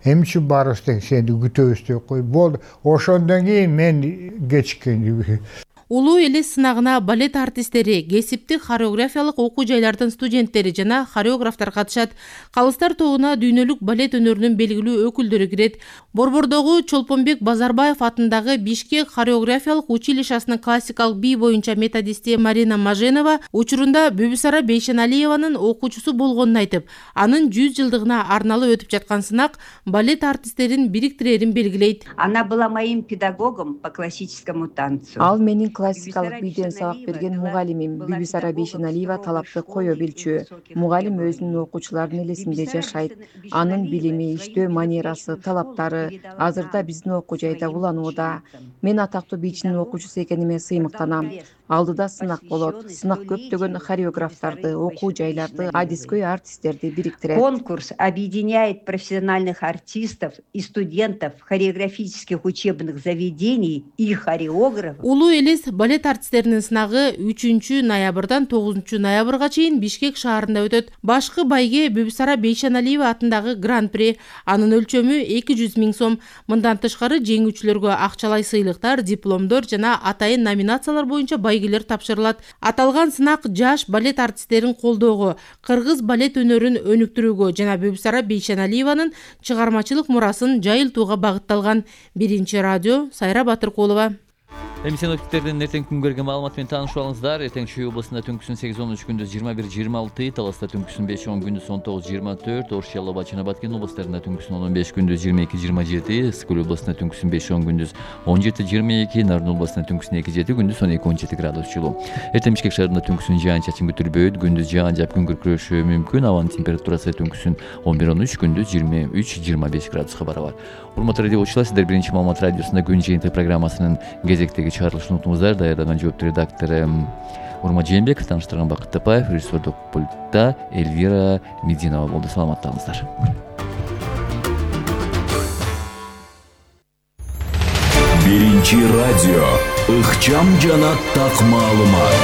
Эмчи барыбыз тең сени күтөбүз деп кой. Болду. Ошондон кийин мен кечиккен. Улуу элес сынагына балет артисттери, кесиптик хореографиялык окуу жайлардын студенттери жана хореографтар катышат. Калыстар тобуна дүйнөлүк балет өнөрүнүн белгилүү өкүлдөрү кирет. Борбордогу Чолпонбек Базарбаев атындагы Бишкек хореографиялык училищесинин классикалык бий боюнча методисти Марина Маженова учурунда Бибисара Бейшеналиеванын окуучусу болгонун айтып, анын жүз жылдыгына арналып өтүп жаткан сынак балет артисттерин бириктирерин белгилейт. Она была моим педагогом по классическому танцу. Ал менин классикалык бийден сабак берген мугалимим. Бибисара Бейшеналиева талапты кое билчү. Мугалим өзүнүн окуучуларынын элесинде жашайт. Анын билими, иштөө манерасы, талаптары азырда биздин окуу жайда уланууда. Мен атактуу бийчинин окуучусу экениме сыймыктанам. Алдыда сынак болот. Сынак көптөгөн хореографтарды, окуу жайларды, адискөй артисттерди бириктирет. Конкурс объединяет профессиональных артистов и студентов хореографических учебных заведений и хореографов. Улуу элес балет артисттеринин сынагы үчүнчү ноябрдан тогузунчу ноябрга чейин Бишкек шаарында өтөт. Башкы байге Бибисара Бейшеналиева атындагы гран-при. Анын өлчөмү эки жүз миң сом. Мындан тышкары жеңүүчүлөргө акчалай сыйлыктар, дипломдор жана атайын номинациялар боюнча байгелер тапшырылат. Аталган сынак жаш балет артисттерин колдоого, кыргыз балет өнөрүн өнүктүрүүгө жана Бибисара Бейшеналиеванын чыгармачылык мурасын жайылтууга багытталган. Биринчи радио Сайра Батыркулова. Эми синоптиктердин эртең күнгө берген маалыматы менен таанышып алыңыздар. Эртең Чүй областында түнкүсүн сегиз он үч, күндүз жыйырма бир жыйырма алты, Таласта түнкүсүн беш он, күндүз он тогуз жыйырма төрт, Ош, Ялова жана Баткен областарында түнкүсүн он он беш, күндүз жыйырма эки жыйырма жети, Ысык Көл областында түнкүсүн беш он, күндүз он жети жыйырма эки, Нарын областында түнкүсүн эки жети, күндүз он эки он жети градус жылуу. Эртең Бишкек шаарында түнкүсүн жаан-чачын күтүлбөйт, күндүз жаан жаап күн күркүрөшү мүмкүн. Абанын температурасы түнкүсүн он бир он үч, күндүз жыйырма үч жыйырма беш градуска барабар. Урматтуу радио окуучулар, сиздер биринчи маалымат радиосунда күн жыйынтык программасынын кезектеги чыгарылышын унутуңуздар. Даярдаган жооптуу редактор Урмат Жээнбеков, тааныштырган Бакыт Тапаев, режиссердук пультта Эльвира Мединова болду. Саламаттаңыздар. Биринчи радио ыкчам жана так маалымат.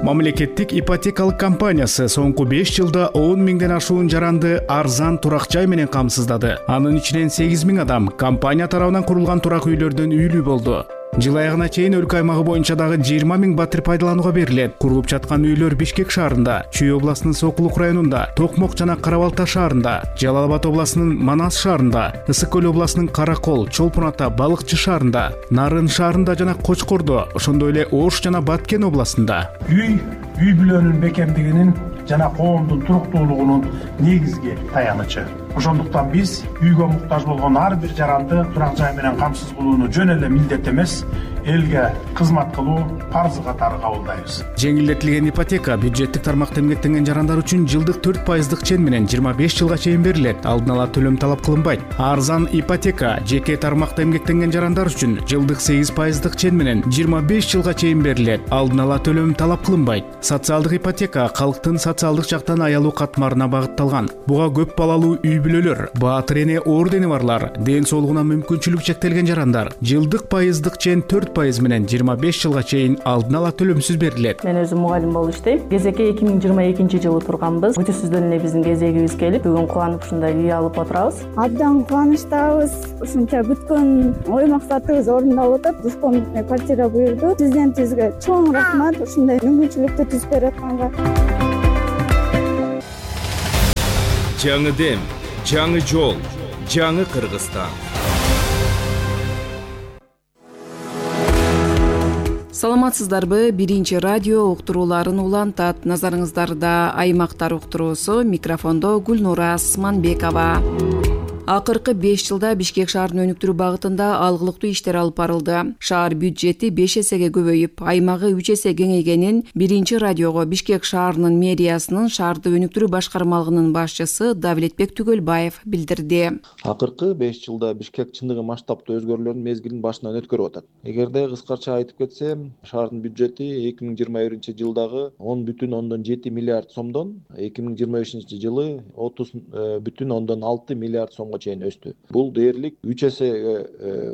Мамлекеттик ипотекалык компаниясы соңку беш жылда он миңден ашуун жаранды арзан турак жай менен камсыздады. Анын ичинен сегиз миң адам компания тарабынан курулган турак үйлөрдөн үйлүү болду. Жыл аягына чейин өлкө аймагы боюнча дагы жыйырма миң батир пайдаланууга берилет. Курулуп жаткан үйлөр Бишкек шаарында, Чүй областынын Сокулук районунда, Токмок жана Карабалта шаарында, Жалал Абад областынын Манас шаарында, Ысык көл областынын Каракол, Чолпон Ата, Балыкчы шаарында, Нарын шаарында жана Кочкордо, ошондой эле Ош жана Баткен областында. Үй үй бүлөнүн бекемдигинин жана коомдун туруктуулугунун негизги таянычы. Ошондуктан биз үйгө муктаж болгон ар бир жаранды турак жай менен камсыз кылууну жөн эле милдет эмес, элге кызмат кылуу парзы катары кабылдайбыз. Жеңилдетилген ипотека бюджеттик тармакта эмгектенген жарандар үчүн жылдык төрт пайыздык чен менен жыйырма беш жылга чейин берилет. Алдын ала төлөм талап кылынбайт. Арзан ипотека жеке тармакта эмгектенген жарандар үчүн жылдык сегиз пайыздык чен менен жыйырма беш жылга чейин берилет. Алдын ала төлөм талап кылынбайт. Социалдык ипотека калктын социалдык жактан аялуу катмарына багытталган. Буга көп балалуу үй бүлөлөр, баатыр эне ордени барлар, ден соолугуна мүмкүнчүлүк чектелген жарандар жылдык пайыздык чен төрт пайыз менен жыйырма беш жылга чейин алдын ала төлөмсүз берилет. Мен өзүм мугалим болуп иштейм. Кезекке эки миң жыйырма экинчи жылы турганбыз. Күтүүсүздөн эле биздин кезегибиз келип, бүгүн кубанып ушундай үй алып отурабыз. Абдан кубанычтабыз. Ушунча күткөн ой максатыбыз орундалып атат. Дуспондук квартира буйрду. Президентибизге чоң рахмат ушундай мүмкүнчүлүктү түзүп берип атканга. Жаңы дем, жаңы жол, жаңы Кыргызстан. Саламатсыздарбы? Биринчи радио уктурууларын улантат. Назарыңыздарда аймактар уктуруусу. Микрофондо Гүлнура Асманбекова. Акыркы беш жылда Бишкек шаарын өнүктүрүү багытында алгылыктуу иштер алып барылды. Шаар бюджети беш эсеге көбөйүп, аймагы үч эсе кеңейгенин Биринчи радиого Бишкек шаарынын мэриясынын шаарды өнүктүрүү башкармалыгынын башчысы Давлетбек Түгөлбаев билдирди. Акыркы беш жылда Бишкек чындыгы масштабтуу өзгөрүүлөрдүн мезгилин башынан өткөрүп атат. Эгерде кыскача айтып кетсем, шаардын бюджети эки миң жыйырма биринчи жылдагы он бүтүн ондон жети миллиард сомдон эки миң жыйырма бешинчи жылы отуз бүтүн ондон алты миллиард сомго чейин өстү. Бул дээрлик үч эсеге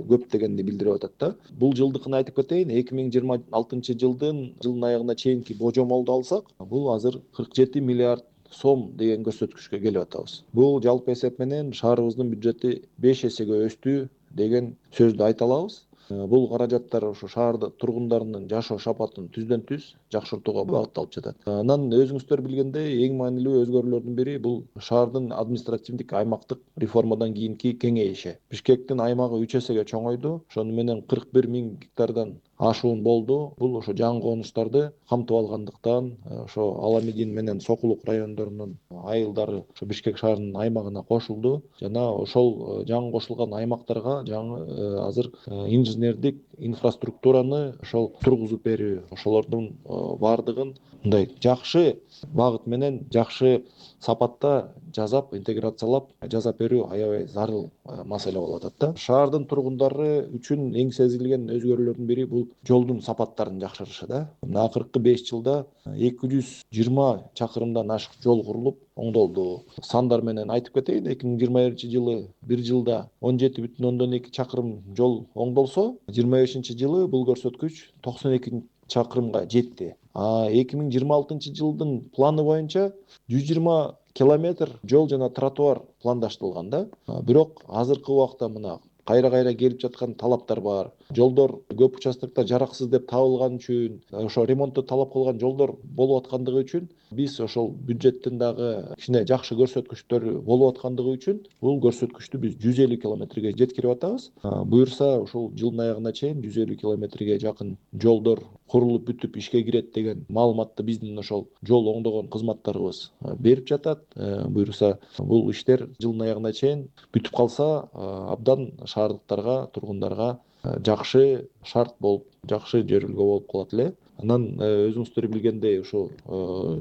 көп дегенди билдирип атат да. Бул жылдыкын айтып кетейин, эки миң жыйырма алтынчы жылдын жылдын аягына чейинки божомолду алсак, бул азыр кырк жети миллиард сом деген көрсөткүчкө келип атабыз. Бул жалпы эсеп менен шаарыбыздын бюджети беш эсеге өстү деген сөздү айта алабыз. Бул каражаттар ошо шаарда тургундарынын жашоо сапатын түздөн түз жакшыртууга багытталып жатат. Анан өзүңүздөр билгендей, эң маанилүү өзгөрүүлөрдүн бири бул шаардын административдик аймактык реформадан кийинки кеңейиши. Бишкектин аймагы үч эсеге чоңойду. Ошону менен кырк бир миң гектардан ашуун болду. Бул ошо жаңы конуштарды камтып алгандыктан, ошо Аламедин менен Сокулук райондорунун айылдары ошо Бишкек шаарынын аймагына кошулду. Жана ошол жаңы кошулган аймактарга жаңы азыр инженердик инфраструктураны ошол тургузуп берүү, ошолордун баардыгын мындай жакшы багыт менен жакшы сапатта жазап, интеграциялап жасап берүү аябай зарыл маселе болуп атат да. Шаардын тургундары үчүн эң сезилген өзгөрүүлөрдүн бири бул жолдун сапаттарын жакшырышы да. Акыркы беш жылда эки жүз жыйырма чакырымдан ашык жол курулуп, оңдолду. Сандар менен айтып кетейин, эки миң жыйырма биринчи жылы бир жылда он жети бүтүн ондон эки чакырым жол оңдолсо, жыйырма бешинчи жылы бул көрсөткүч токсон эки чакырымга жетти. А эки миң жыйырма алтынчы жылдын планы боюнча жүз жыйырма километр жол жана тротуар пландаштырылган да. Бирок азыркы убакта мына кайра-кайра келип жаткан талаптар бар. Жолдор көп участоктор жараксыз деп табылган үчүн, ошо ремонтту талап кылган жолдор болуп аткандыгы үчүн биз ошол бюджеттин дагы кичине жакшы көрсөткүчтөр болуп аткандыгы үчүн бул көрсөткүчтү биз жүз элүү километрге жеткирип атабыз. Буюрса ошол жылдын аягына чейин жүз элүү километрге жакын жолдор курулуп бүтүп ишке кирет деген маалыматты биздин ошол жол оңдогон кызматтарыбыз берип жатат. Буюрса бул иштер жылдын аягына чейин бүтүп калса, абдан шаардыктарга, тургундарга жакшы шарт болуп, жакшы жөрүлгө болуп калат эле. Анан өзүңүздөр билгендей ошо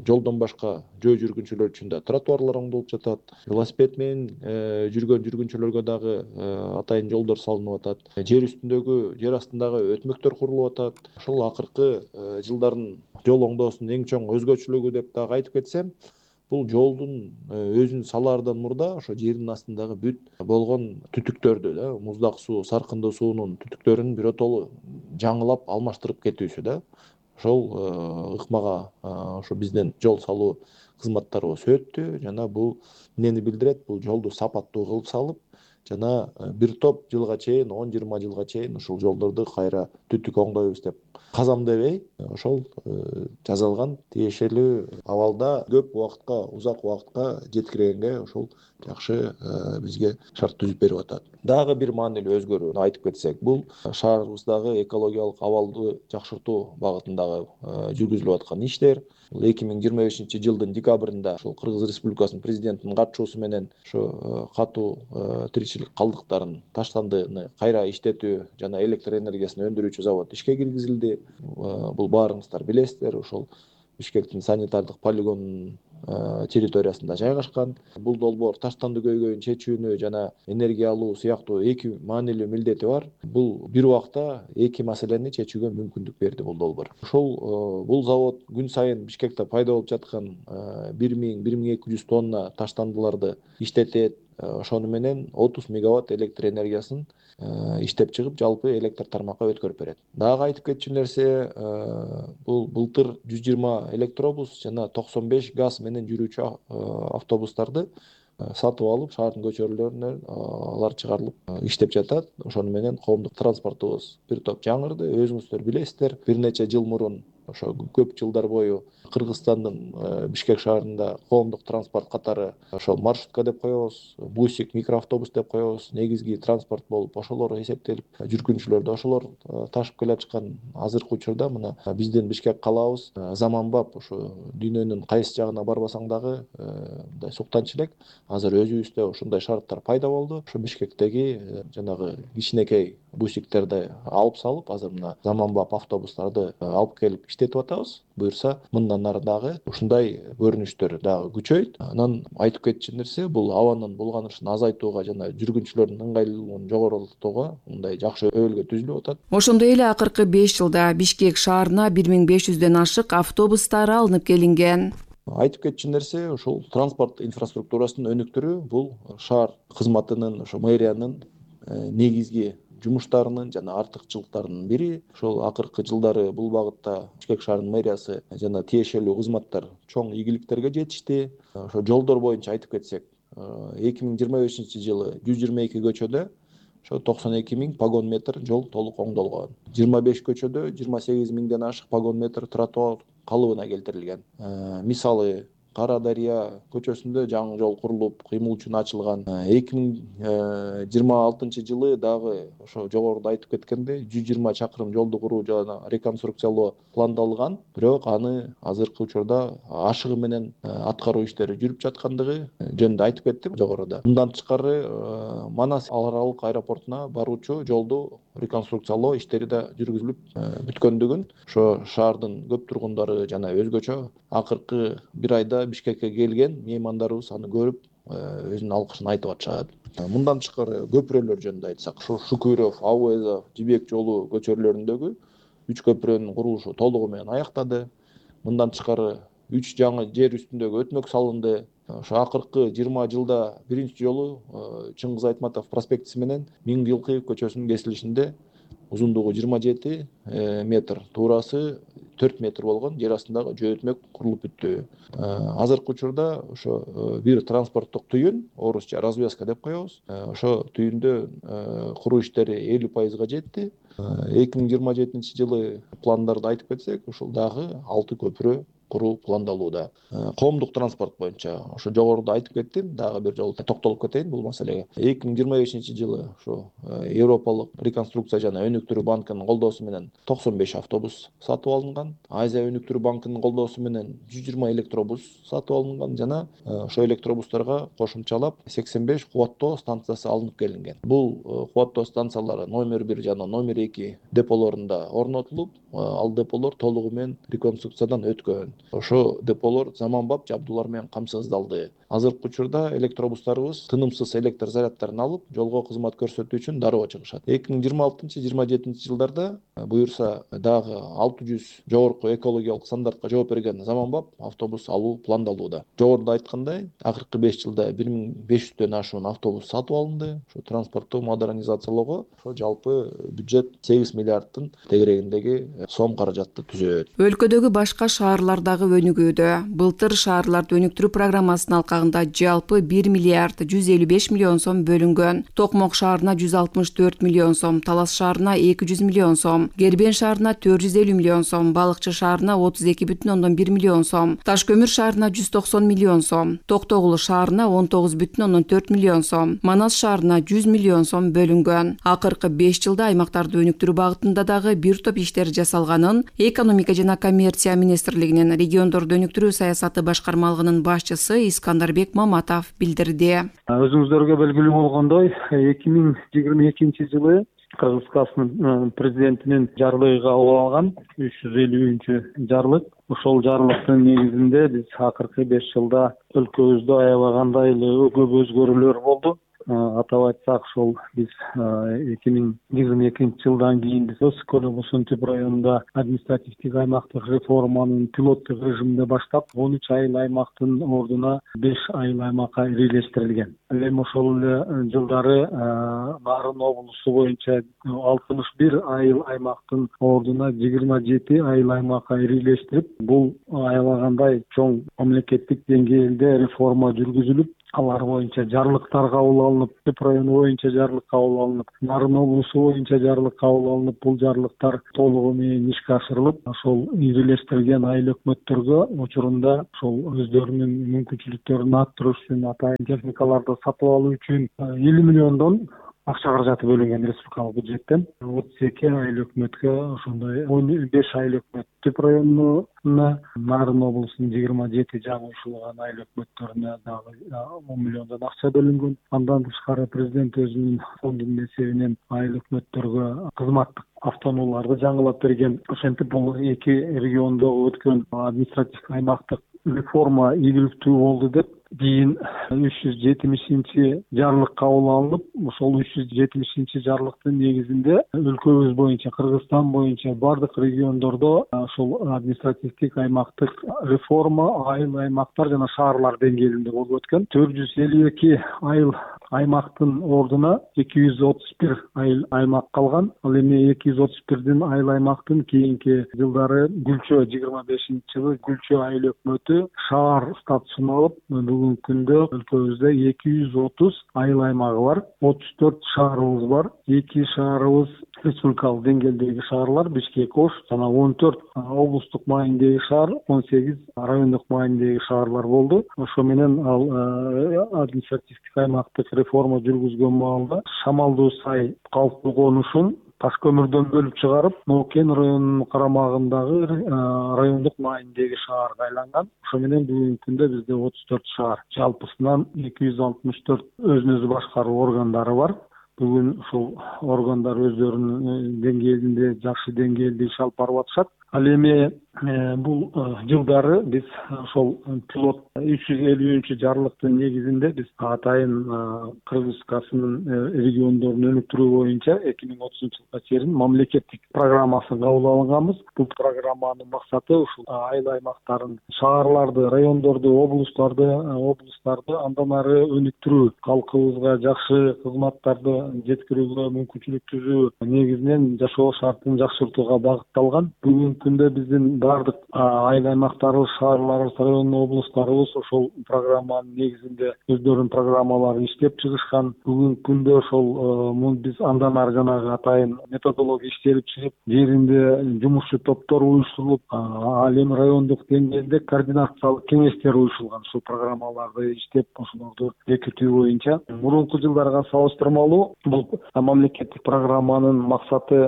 жолдон башка жөө жүргүнчүлөр үчүн да тротуарлар оңдолуп жатат. Велосипед менен жүргөн жүргүнчүлөргө дагы атайын жолдор салынып атат. Жер үстүндөгү, жер астындагы өтмөктөр курулуп атат. Ошол акыркы жылдардын жол оңдоосунун эң чоң өзгөчөлүгү деп дагы айтып кетсем, бул жолдун өзүн салаардан мурда ошо жердин астындагы бүт болгон түтүктөрдү да, муздак суу, саркындуу суунун түтүктөрүн биротоло жаңылап алмаштырып кетүүсү да. Ошол ыкмага ошо биздин жол салуу кызматтарыбыз өттү жана бул эмнени билдирет? Бул жолду сапаттуу кылып салып, жана бир топ жылга чейин, он жыйырма жылга чейин ушул жолдорду кайра түтүк оңдойбуз деп казам дебей, ошол жасалган тиешелүү абалда көп убакытка, узак убакытка жеткиргенге ошол жакшы бизге шарт түзүп берип атат. Дагы бир маанилүү өзгөрүүнү айтып кетсек, бул шаарыбыздагы экологиялык абалды жакшыртуу багытындагы жүргүзүлүп аткан иштер. эки миң жыйырма бешинчи жылдын декабрында ошол Кыргыз Республикасынын президентинин катышуусу менен ошо катуу тиричилик калдыктарын, таштандыны кайра иштетүү жана электр энергиясын өндүрүүчү завод ишке киргизилди. Бул баарыңыздар билесиздер, ошол Бишкектин санитардык полигонунун территориясында жайгашкан. Бул долбоор таштанды көйгөйүн чечүүнү жана энергия алуу сыяктуу эки маанилүү милдети бар. Бул бир убакта эки маселени чечүүгө мүмкүндүк берди бул долбоор. Ошол бул завод күн сайын Бишкекте пайда болуп жаткан бир миң бир миң эки жүз тонна таштандыларды иштетет. Ошону менен отуз мегаватт электр энергиясын иштеп чыгып, жалпы электр тармакка өткөрүп берет. Дагы айтып кетчү нерсе, бул былтыр жүз жыйырма электробус жана токсон беш газ менен жүрүүчү автобустарды сатып алып, шаардын көчөлөрүнө алар чыгарылып иштеп жатат. Ошону менен коомдук транспортубуз бир топ жаңырды. Өзүңүздөр билесиздер, бир нече жыл мурун ошо көп жылдар бою Кыргызстандын Бишкек шаарында коомдук транспорт катары ошол маршрутка деп коебуз, бусик, микроавтобус деп коебуз, негизги транспорт болуп ошолор эсептелип, жүргүнчүлөрдү ошолор ташып келатышкан. Азыркы учурда мына биздин Бишкек калаабыз заманбап, ошо дүйнөнүн кайсы жагына барбасаң дагы мындай суктанчу элек. Азыр өзүбүздө ушундай шарттар пайда болду. Ошо Бишкектеги жанагы кичинекей бусиктерди алып салып, азыр мына заманбап автобустарды алып келип иштетип атабыз. Буюрса, мындан ары дагы ушундай көрүнүштөр дагы күчөйт. Анан айтып кетчү нерсе, бул абанын булганышын азайтууга жана жүргүнчүлөрдүн ыңгайлуулугун жогорултууга мындай жакшы өбөлгө түзүлүп атат. Ошондой эле акыркы беш жылда Бишкек шаарына бир миң беш жүздөн ашык автобустар алынып келинген. Айтып кетчү нерсе, ошол транспорт инфраструктурасынын өнүктүрүү бул шаар кызматынын, ошо мэриянын негизги жумуштарынын жана артыкчылыктарынын бири. Ошол акыркы жылдары бул багытта Бишкек шаарынын мэриясы жана тиешелүү кызматтар чоң ийгиликтерге жетишти. Ошо жолдор боюнча айтып кетсек, эки миң жыйырма бешинчи жылы жүз жыйырма эки көчөдө ошо токсон эки миң погон метр жол толук оңдолгон. жыйырма беш көчөдө жыйырма сегиз миңден ашык погон метр тротуар калыбына келтирилген. Мисалы, Кара Дарыя көчөсүндө жаңы жол курулуп, кыймыл үчүн ачылган. эки миң жыйырма алтынчы жылы дагы ошо жогоруда айтып кеткендей жүз жыйырма чакырым жолду куруу жана реконструкциялоо пландалган. Бирок аны азыркы учурда ашыгы менен аткаруу иштери жүрүп жаткандыгы жөнүндө айтып кеттим жогоруда. Мындан тышкары Манас ар аралык аэропортуна баруучу жолду реконструкциялоо иштери да жүргүзүлүп бүткөндүгүн ошо шаардын көп тургундары жана өзгөчө акыркы бир айда Бишкекке келген меймандарыбыз аны көрүп өзүнүн алкышын айтып атышат. Мындан тышкары көпүрөлөр жөнүндө айтсак, ошо Шукуйров, Ауэзов, Жибек жолу көчөлөрүндөгү үч көпүрөнүн курулушу толугу менен аяктады. Мындан тышкары үч жаңы жер үстүндөгү өтмөк салынды. Ошо акыркы жыйырма жылда биринчи жолу Чыңгыз Айтматов проспектиси менен Миң Жылкыев көчөсүнүн кесилишинде узундугу жыйырма жети метр, туурасы төрт метр болгон жер астындагы жөө өтмөк курулуп бүттү. Азыркы учурда ошо бир транспорттук түйүн, орусча развязка деп коебуз. Ошо түйүндө куруу иштери элүү пайызга жетти. эки миң жыйырма жетинчи жылы пландарды айтып кетсек, ушул дагы алты көпүрө куруу пландалууда. Коомдук транспорт боюнча ошо жогоруда айтып кеттим, дагы бир жолу токтолуп кетейин бул маселеге. эки миң жыйырма бешинчи жылы ошо Европалык реконструкция жана өнүктүрүү банкынын колдоосу менен токсон беш автобус сатып алынган. Азия өнүктүрүү банкынын колдоосу менен жүз жыйырма электробус сатып алынган жана ошо электробустарга кошумчалап сексен беш кубаттоо станциясы алынып келинген. Бул кубаттоо станциялары номер бир жана номер эки деполорунда орнотулуп, ал деполор толугу менен реконструкциядан өткөн. Ошо деполор заманбап жабдуулар менен камсыздалды. Азыркы учурда электробустарыбыз тынымсыз электр заряддарын алып, жолго кызмат көрсөтүү үчүн дароо чыгышат. эки миң жыйырма алтынчы жыйырма жетинчи жылдарда буюрса дагы алты жүз жогорку экологиялык стандартка жооп берген заманбап автобус алуу пландалууда. Жогоруда айткандай, акыркы беш жылда бир миң беш жүздөн ашуун автобус сатып алынды. Ошо транспортту модернизациялоого ошо жалпы бюджет сегиз миллиардтын тегерегиндеги сом каражатты түзөт. Өлкөдөгү башка шаарлар дагы өнүгүүдө. Былтыр шаарларды өнүктүрүү программасынын алкагында жалпы бир миллиард жүз элүү беш миллион сом бөлүнгөн. Токмок шаарына жүз алтымыш төрт миллион сом, Талас шаарына эки жүз миллион сом, Кербен шаарына төрт жүз элүү миллион сом, Балыкчы шаарына отуз эки бүтүн ондон бир миллион сом, Таш көмүр шаарына жүз токсон миллион сом, Токтогул шаарына он тогуз бүтүн ондон төрт миллион сом, Манас шаарына жүз миллион сом бөлүнгөн. Акыркы беш жылда аймактарды өнүктүрүү багытында дагы бир топ иштер жасалганын Экономика жана коммерция министрлигинин региондорду өнүктүрүү саясаты башкармалыгынын башчысы Искандарбек Маматов билдирди. Өзүңүздөргө белгилүү болгондой, эки миң жыйырма экинчи жылы Кыргызстан президентинин жарлыгы кабыл алган үч жүз элүүнчү жарлык. Ошол жарлыктын негизинде биз акыркы беш жылда өлкөбүздө аябагандай эле көп өзгөрүүлөр болду. Атап айтсак, ошол биз эки миң жыйырма экинчи жылдан кийин Көлөмүсүн Түп районунда административдик аймактык реформанын пилоттук режиминде баштап, он үч айыл аймактын ордуна беш айыл аймакка ирилештирилген. Эми ошол эле жылдары Нарын облусу боюнча алтымыш бир айыл аймактын ордуна жыйырма жети айыл аймакка ирилештирип, бул аябагандай чоң мамлекеттик деңгээлде реформа жүргүзүлүп, алар боюнча жарлыктар кабыл алынып, Түп району боюнча жарлык кабыл алынып, Нарын облусу боюнча жарлык кабыл алынып, бул жарлыктар толугу менен ишке ашырылып, ошол ирилештирген айыл өкмөттөргө учурунда ошол өздөрүнүн мүмкүнчүлүктөрүн арттыруу үчүн, атайын техникаларды сатып алуу үчүн элүү миллиондон акча каражаты бөлүнгөн республикалык бюджеттен. отуз эки айыл өкмөткө, ошондой он беш айыл өкмөт Түп районуна, Нарын облусунун жыйырма жети жаңы учурулган айыл өкмөттөрүнө дагы он миллиондон акча бөлүнгөн. Андан тышкары президент өзүнүн фондунун эсебинен айыл өкмөттөргө кызматтык автоунааларды жаңылап берген. Ошентип бул эки региондогу өткөн административдик аймактык реформа ийгиликтүү болду деп кийин үч жүз жетимишинчи жарлык кабыл алынып, ошол үч жүз жетимишинчи жарлыктын негизинде өлкөбүз боюнча, Кыргызстан боюнча бардык региондордо ошол административдик аймактык реформа айыл аймактар жана шаарлар деңгээлинде болуп өткөн. төрт жүз элүү эки айыл аймактын ордуна эки жүз отуз бир айыл аймак калган. Ал эми эки жүз отуз бирдин айыл аймактын кийинки жылдары Гүлчө жыйырма бешинчи жылы Гүлчө айыл өкмөтү шаар статусун алып, бүгүнкү күндө өлкөбүздө эки жүз отуз айыл аймагы бар, отуз төрт шаарыбыз бар. эки шаарыбыз республикалык деңгээлдеги шаарлар, Бишкек, Ош жана он төрт облустук маанидеги шаар, он сегиз райондук маанидеги шаарлар болду. Ошо менен ал административдик аймактык реформа жүргүзгөн маалда Шамалдуу Сай калктуу конушун Таш көмүрдөн бөлүп чыгарып, Нокен районунун карамагындагы райондук маанидеги шаарга айланган. Ошо менен бүгүнкү күндө бизде отуз төрт шаар, жалпысынан эки жүз алтымыш төрт өзүн өзү башкаруу органдары бар. Бүгүн ушул органдар өздөрүнүн деңгээлинде жакшы деңгээлде иш алып барып атышат. Ал эми бул жылдары биз ошол пилот үч жүз элүүнчү жарлыктын негизинде биз атайын Кыргыз Республикасынын региондорун өнүктүрүү боюнча эки миң отузунчу жылга чейин мамлекеттик программасын кабыл алганбыз. Бул программанын максаты ушул айыл аймактарын, шаарларды, райондорду, облустарды, облустарды андан ары өнүктүрүү, калкыбызга жакшы кызматтарды жеткирүүгө мүмкүнчүлүк түзүү, негизинен жашоо шартын жакшыртууга багытталган. Бүгүнкү күндө биздин баардык айыл аймактарыбыз, шаарларыбыз, район облустарыбыз ошол программанын негизинде өздөрүнүн программаларын иштеп чыгышкан. Бүгүнкү күндө ошол биз андан ары жанагы атайын методология иштелип чыгып, жеринде жумушчу топтор уюштурулуп, ал эми райондук деңгээлде координациялык кеңештер уюшулган. Ушул программаларды иштеп, ошолорду бекитүү боюнча мурунку жылдарга салыштырмалуу бул мамлекеттик программанын максаты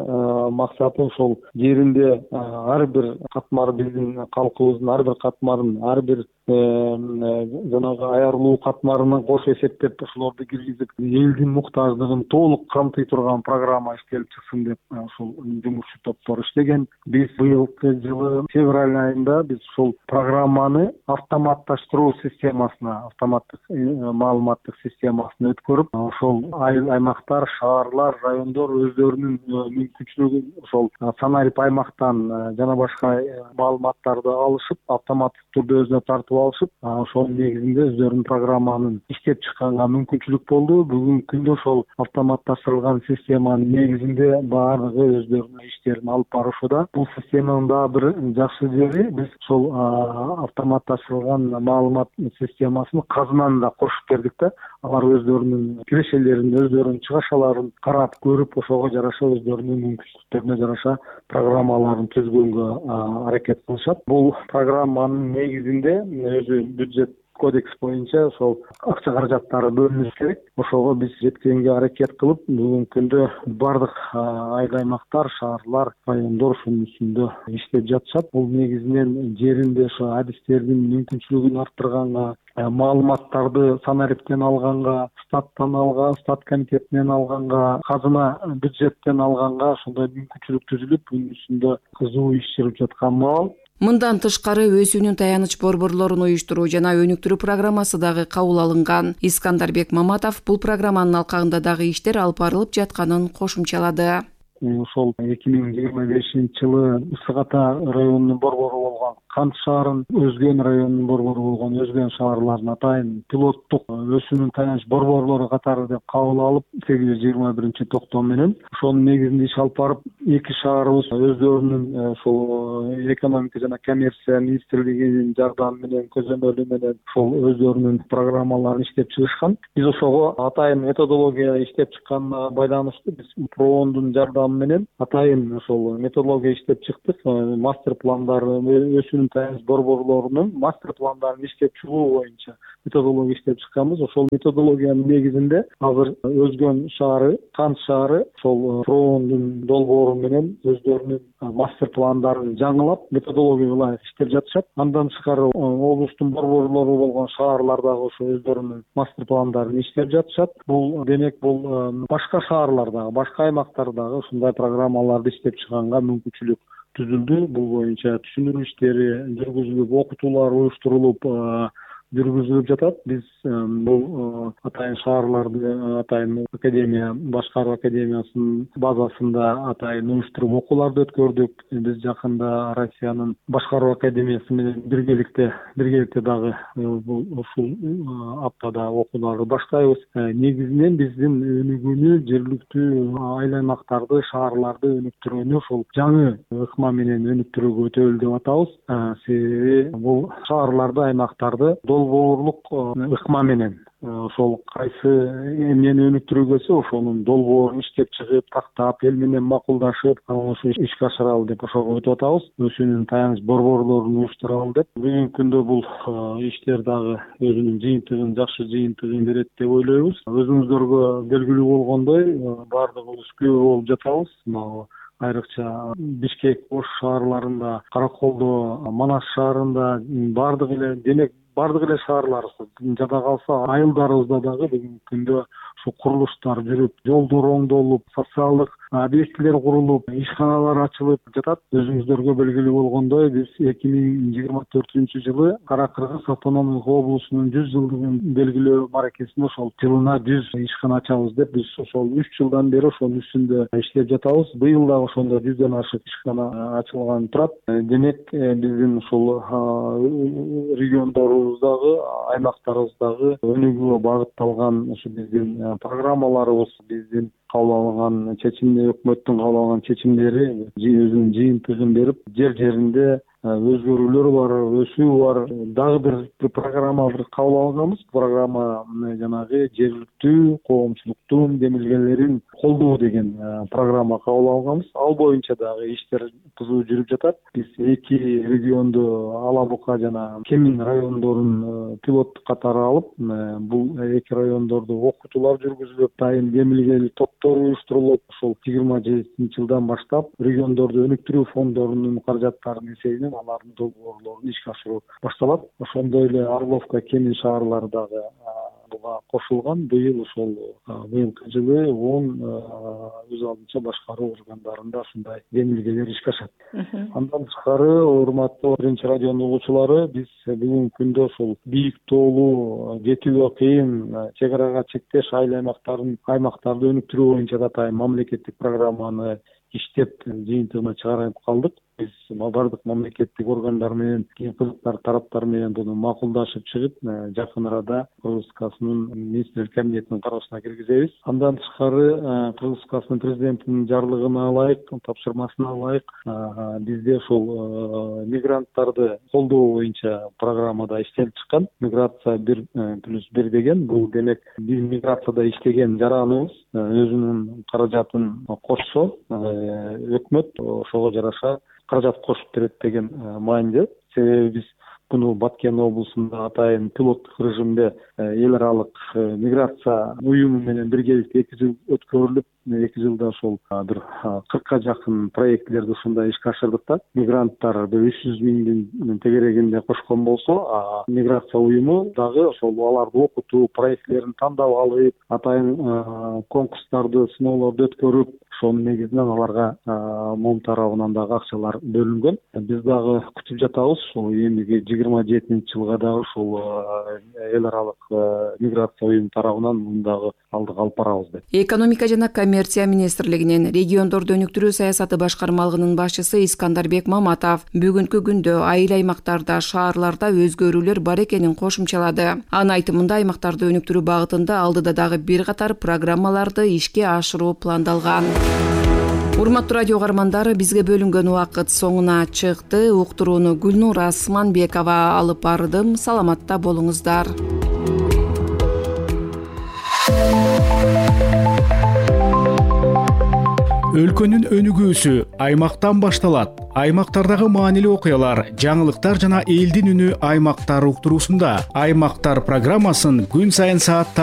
максаты ошол жеринде ар бир катмар, биздин калкыбыздын ар бир катмарын, ар бир жанагы аярлуу катмарынан кош эсептеп ошолорду киргизип, элдин муктаждыгын толук камтый турган программа иштелип чыксын деп ушул жумушчу топтор иштеген. Биз быйылкы жылы февраль айында биз ушул программаны автоматташтыруу системасына, автоматтык маалыматтык системасына өткөрүп, ошол айыл аймактар, шаарлар, райондор өздөрүнүн мүмкүнчүлүгүн ошол санарип аймактан жана башка маалыматтарды алышып, автоматтык түрдө өзүнө тартып алышып, ошонун негизинде өздөрүнүн программанын иштеп чыкканга мүмкүнчүлүк болду. Бүгүнкү күндө ошол автоматташтырылган системанын негизинде баардыгы өздөрүнүн иштерин алып барышууда. Бул системанын дагы бир жакшы жери, биз ошол автоматташтырылган маалымат системасын казынаны да кошуп бердик да. Алар өздөрүнүн кирешелерин, өздөрүнүн чыгашаларын карап көрүп, ошого жараша өздөрүнүн мүмкүнчүлүктөрүнө жараша программаларын түзгөнгө аракет кылышат. Бул программанын негизинде өзү бюджет кодекс боюнча ошол акча каражаттары бөлүнүш керек. Ошого биз жеткенге аракет кылып, бүгүнкү күндө бардык айыл аймактар, шаарлар, райондор ушунун үстүндө иштеп жатышат. Бул негизинен жеринде ошо адистердин мүмкүнчүлүгүн арттырганга, маалыматтарды санариптен алганга, статтан алганга, стат комитетинен алганга, казына бюджеттен алганга ошондой мүмкүнчүлүк түзүлүп, bunun үстүндө кызуу иш жүрүп жаткан маал. Мындан тышкары өсүүнүн таяныч борборлорун уюштуруу жана өнүктүрүү программасы дагы кабыл алынган. Искандарбек Маматов бул программанын алкагында дагы иштер алып барылып жатканын кошумчалады. Ошол эки миң жыйырма бешинчи жылы Ысык Ата районунун борбору болгон Кант шаарын, Өзгөн районунун борбору болгон Өзгөн шаарларын атайын пилоттук өсүүнүн таяныч борборлору катары деп кабыл алып, сегиз жүз жыйырма биринчи токтом менен ошонун негизинде иш алып барып, эки шаарыбыз өздөрүнүн ошол экономика жана коммерция министрлигинин жардамы менен, көзөмөлү менен ошол өздөрүнүн программаларын иштеп чыгышкан. Биз ошого атайын методология иштеп чыкканына байланыштуу биз проондун жардамы менен атайын ошол методология иштеп чыктык. Мастер пландары, өсүүнүн таяныч борборлорунун мастер пландарын иштеп чыгуу боюнча методология иштеп чыкканбыз. Ошол методологиянын негизинде азыр Өзгөн шаары, Кант шаары ошол проондун долбоору менен өздөрүнүн мастер пландарын жаңылап, методологияга ылайык иштеп жатышат. Андан тышкары облустун борборлору болгон шаарлар дагы ошо өздөрүнүн мастер пландарын иштеп жатышат. Бул демек бул башка шаарлардагы, башка аймактардагы ушундай программаларды иштеп чыганга мүмкүнчүлүк түзүлдү. Бул боюнча түшүндүрүү иштери жүргүзүлүп, окутуулар уюштурулуп жүргүзүлүп жатат. Биз бул атайын шаарларды, атайын академия, башкаруу академиясынын базасында атайын уюштуруп окууларды өткөрдүк. Биз жакында Россиянын башкаруу академиясы менен биргеликте биргеликте дагы ушул аптада окууларды баштайбыз. Негизинен биздин өнүгүүнү жергиликтүү айыл аймактарды, шаарларды өнүктүрүүнү ошол жаңы ыкма менен өнүктүрүүгө өтөлү деп атабыз. Себеби бул шаарларды, аймактарды долбоорлук ыкма менен ошол кайсы эмнени өнүктүрүүгөсө ошонун долбоорун иштеп чыгып, тактап, эл менен макулдашып, ошо ишке ашыралы деп ошого өтүп атабыз. Өсүүнүн таяныч борборлорун уюштуралы деп. Бүгүнкү күндө бул иштер дагы өзүнүн жыйынтыгын, жакшы жыйынтыгын берет деп ойлойбуз. Өзүңүздөргө белгилүү болгондой, баардыгыбыз күбө болуп жатабыз. Айрыкча Бишкек, Ош шаарларында, Караколдо, Манас шаарында баардык эле, демек баардык эле шаарларыбыз, жада калса айылдарыбызда дагы бүгүнкү күндө ушу курулуштар жүрүп, жолдор оңдолуп, социалдык объектилер курулуп, ишканалар ачылып жатат. Өзүңүздөргө белгилүү болгондой, биз эки миң жыйырма төртүнчү жылы Кара Кыргыз автономдук облусунун жүз жылдыгын белгилөө маракесинде ошол жылына жүз ишкана ачабыз деп биз ошол үч жылдан бери ошонун үстүндө иштеп жатабыз. Быйыл дагы ошондо жүздөн ашык ишкана ачылган турат. Демек, биздин ушул региондорубуздагы, аймактарыбыздагы өнүгүүгө багытталган ушу биздин программаларыбыз, биздин кабыл алынган чечимдер, өкмөттүн кабыл алган чечимдери өзүнүн жыйынтыгын берип, жер жеринде өзгөрүүлөр бар, өсүү бар. Дагы бир программа бир кабыл алганбыз. Программа жанагы жергиликтүү коомчулуктун демилгелерин колдоо деген программа кабыл алганбыз. Ал боюнча дагы иштер кызуу жүрүп жатат. Биз эки регионду, Ала Бука жана Кемин райондорун пилоттук катары алып, бул эки райондордо окутуулар жүргүзүлүп, дайым демилгелүү топтор уюштурулуп, ошол жыйырма жетинчи жылдан баштап региондорду өнүктүрүү фондорунун каражаттарынын эсебинен алардын долбоорлорун ишке ашыруу башталат. Ошондой эле Орловка, Кемин шаарлары дагы буга кошулган. Быйыл ошол быйылкы жылы он өз алдынча башкаруу органдарында ушундай демилгелер ишке ашат. Андан тышкары, урматтуу биринчи радионун угуучулары, биз бүгүнкү күндө ошол бийик тоолуу, жетүүгө кыйын, чек арага чектеш айыл аймактарын аймактарды өнүктүрүү боюнча да атайын мамлекеттик программаны иштеп жыйынтыгына чыгарып калдык. Биз бардык мамлекеттик органдар менен, кийин кызыктар тараптар менен буну макулдашып чыгып, жакын арада Кыргызстанын министрлер кабинетинин кароосуна киргизебиз. Андан тышкары, Кыргызстанын президентинин жарлыгына ылайык, тапшырмасына ылайык, бизде ошол мигранттарды колдоо боюнча программада иштелип чыккан. Миграция бир плюс бир деген, бул демек биз миграцияда иштеген жараныбыз өзүнүн каражатын кошсо, өкмөт ошого жараша каражат кошуп берет деген маанидө. Себеби биз буну Баткен облусунда атайын пилоттук режимде эл аралык миграция уюму менен биргеликте эки жыл өткөрүлүп, эки жылда ошол бир кыркка жакын проектлерди ушундай ишке ашырдык да. Мигранттар бир үч жүз миңдин тегерегинде кошкон болсо, миграция уюму дагы ошол аларды окутуу, проектлерин тандап алып, атайын конкурстарды, сыноолорду өткөрүп, ошонун негизинен аларга мом тарабынан дагы акчалар бөлүнгөн. Биз дагы күтүп жатабыз, ошол эмиги жыйырма жетинчи жылга дагы ушул эл аралык миграция уюму тарабынан мындагы алдыга алып барабыз деп. Экономика жана коммерция министрлигинин региондорду өнүктүрүү саясаты башкармалыгынын башчысы Искандарбек Маматов бүгүнкү күндө айыл аймактарда, шаарларда өзгөрүүлөр бар экенин кошумчалады. Анын айтымында аймактарды өнүктүрүү багытында алдыда дагы бир катар программаларды ишке ашыруу пландалган. Урматтуу радио каармандары, бизге бөлүнгөн убакыт соңуна чыкты. Уктурууну Гүлнур Асманбекова алып бардым. Саламатта болуңуздар. Өлкөнүн өнүгүүсү аймактан башталат. Аймактардагы маанилүү окуялар, жаңылыктар жана элдин үнү аймактар уктуруусунда. Аймактар программасын күн сайын саат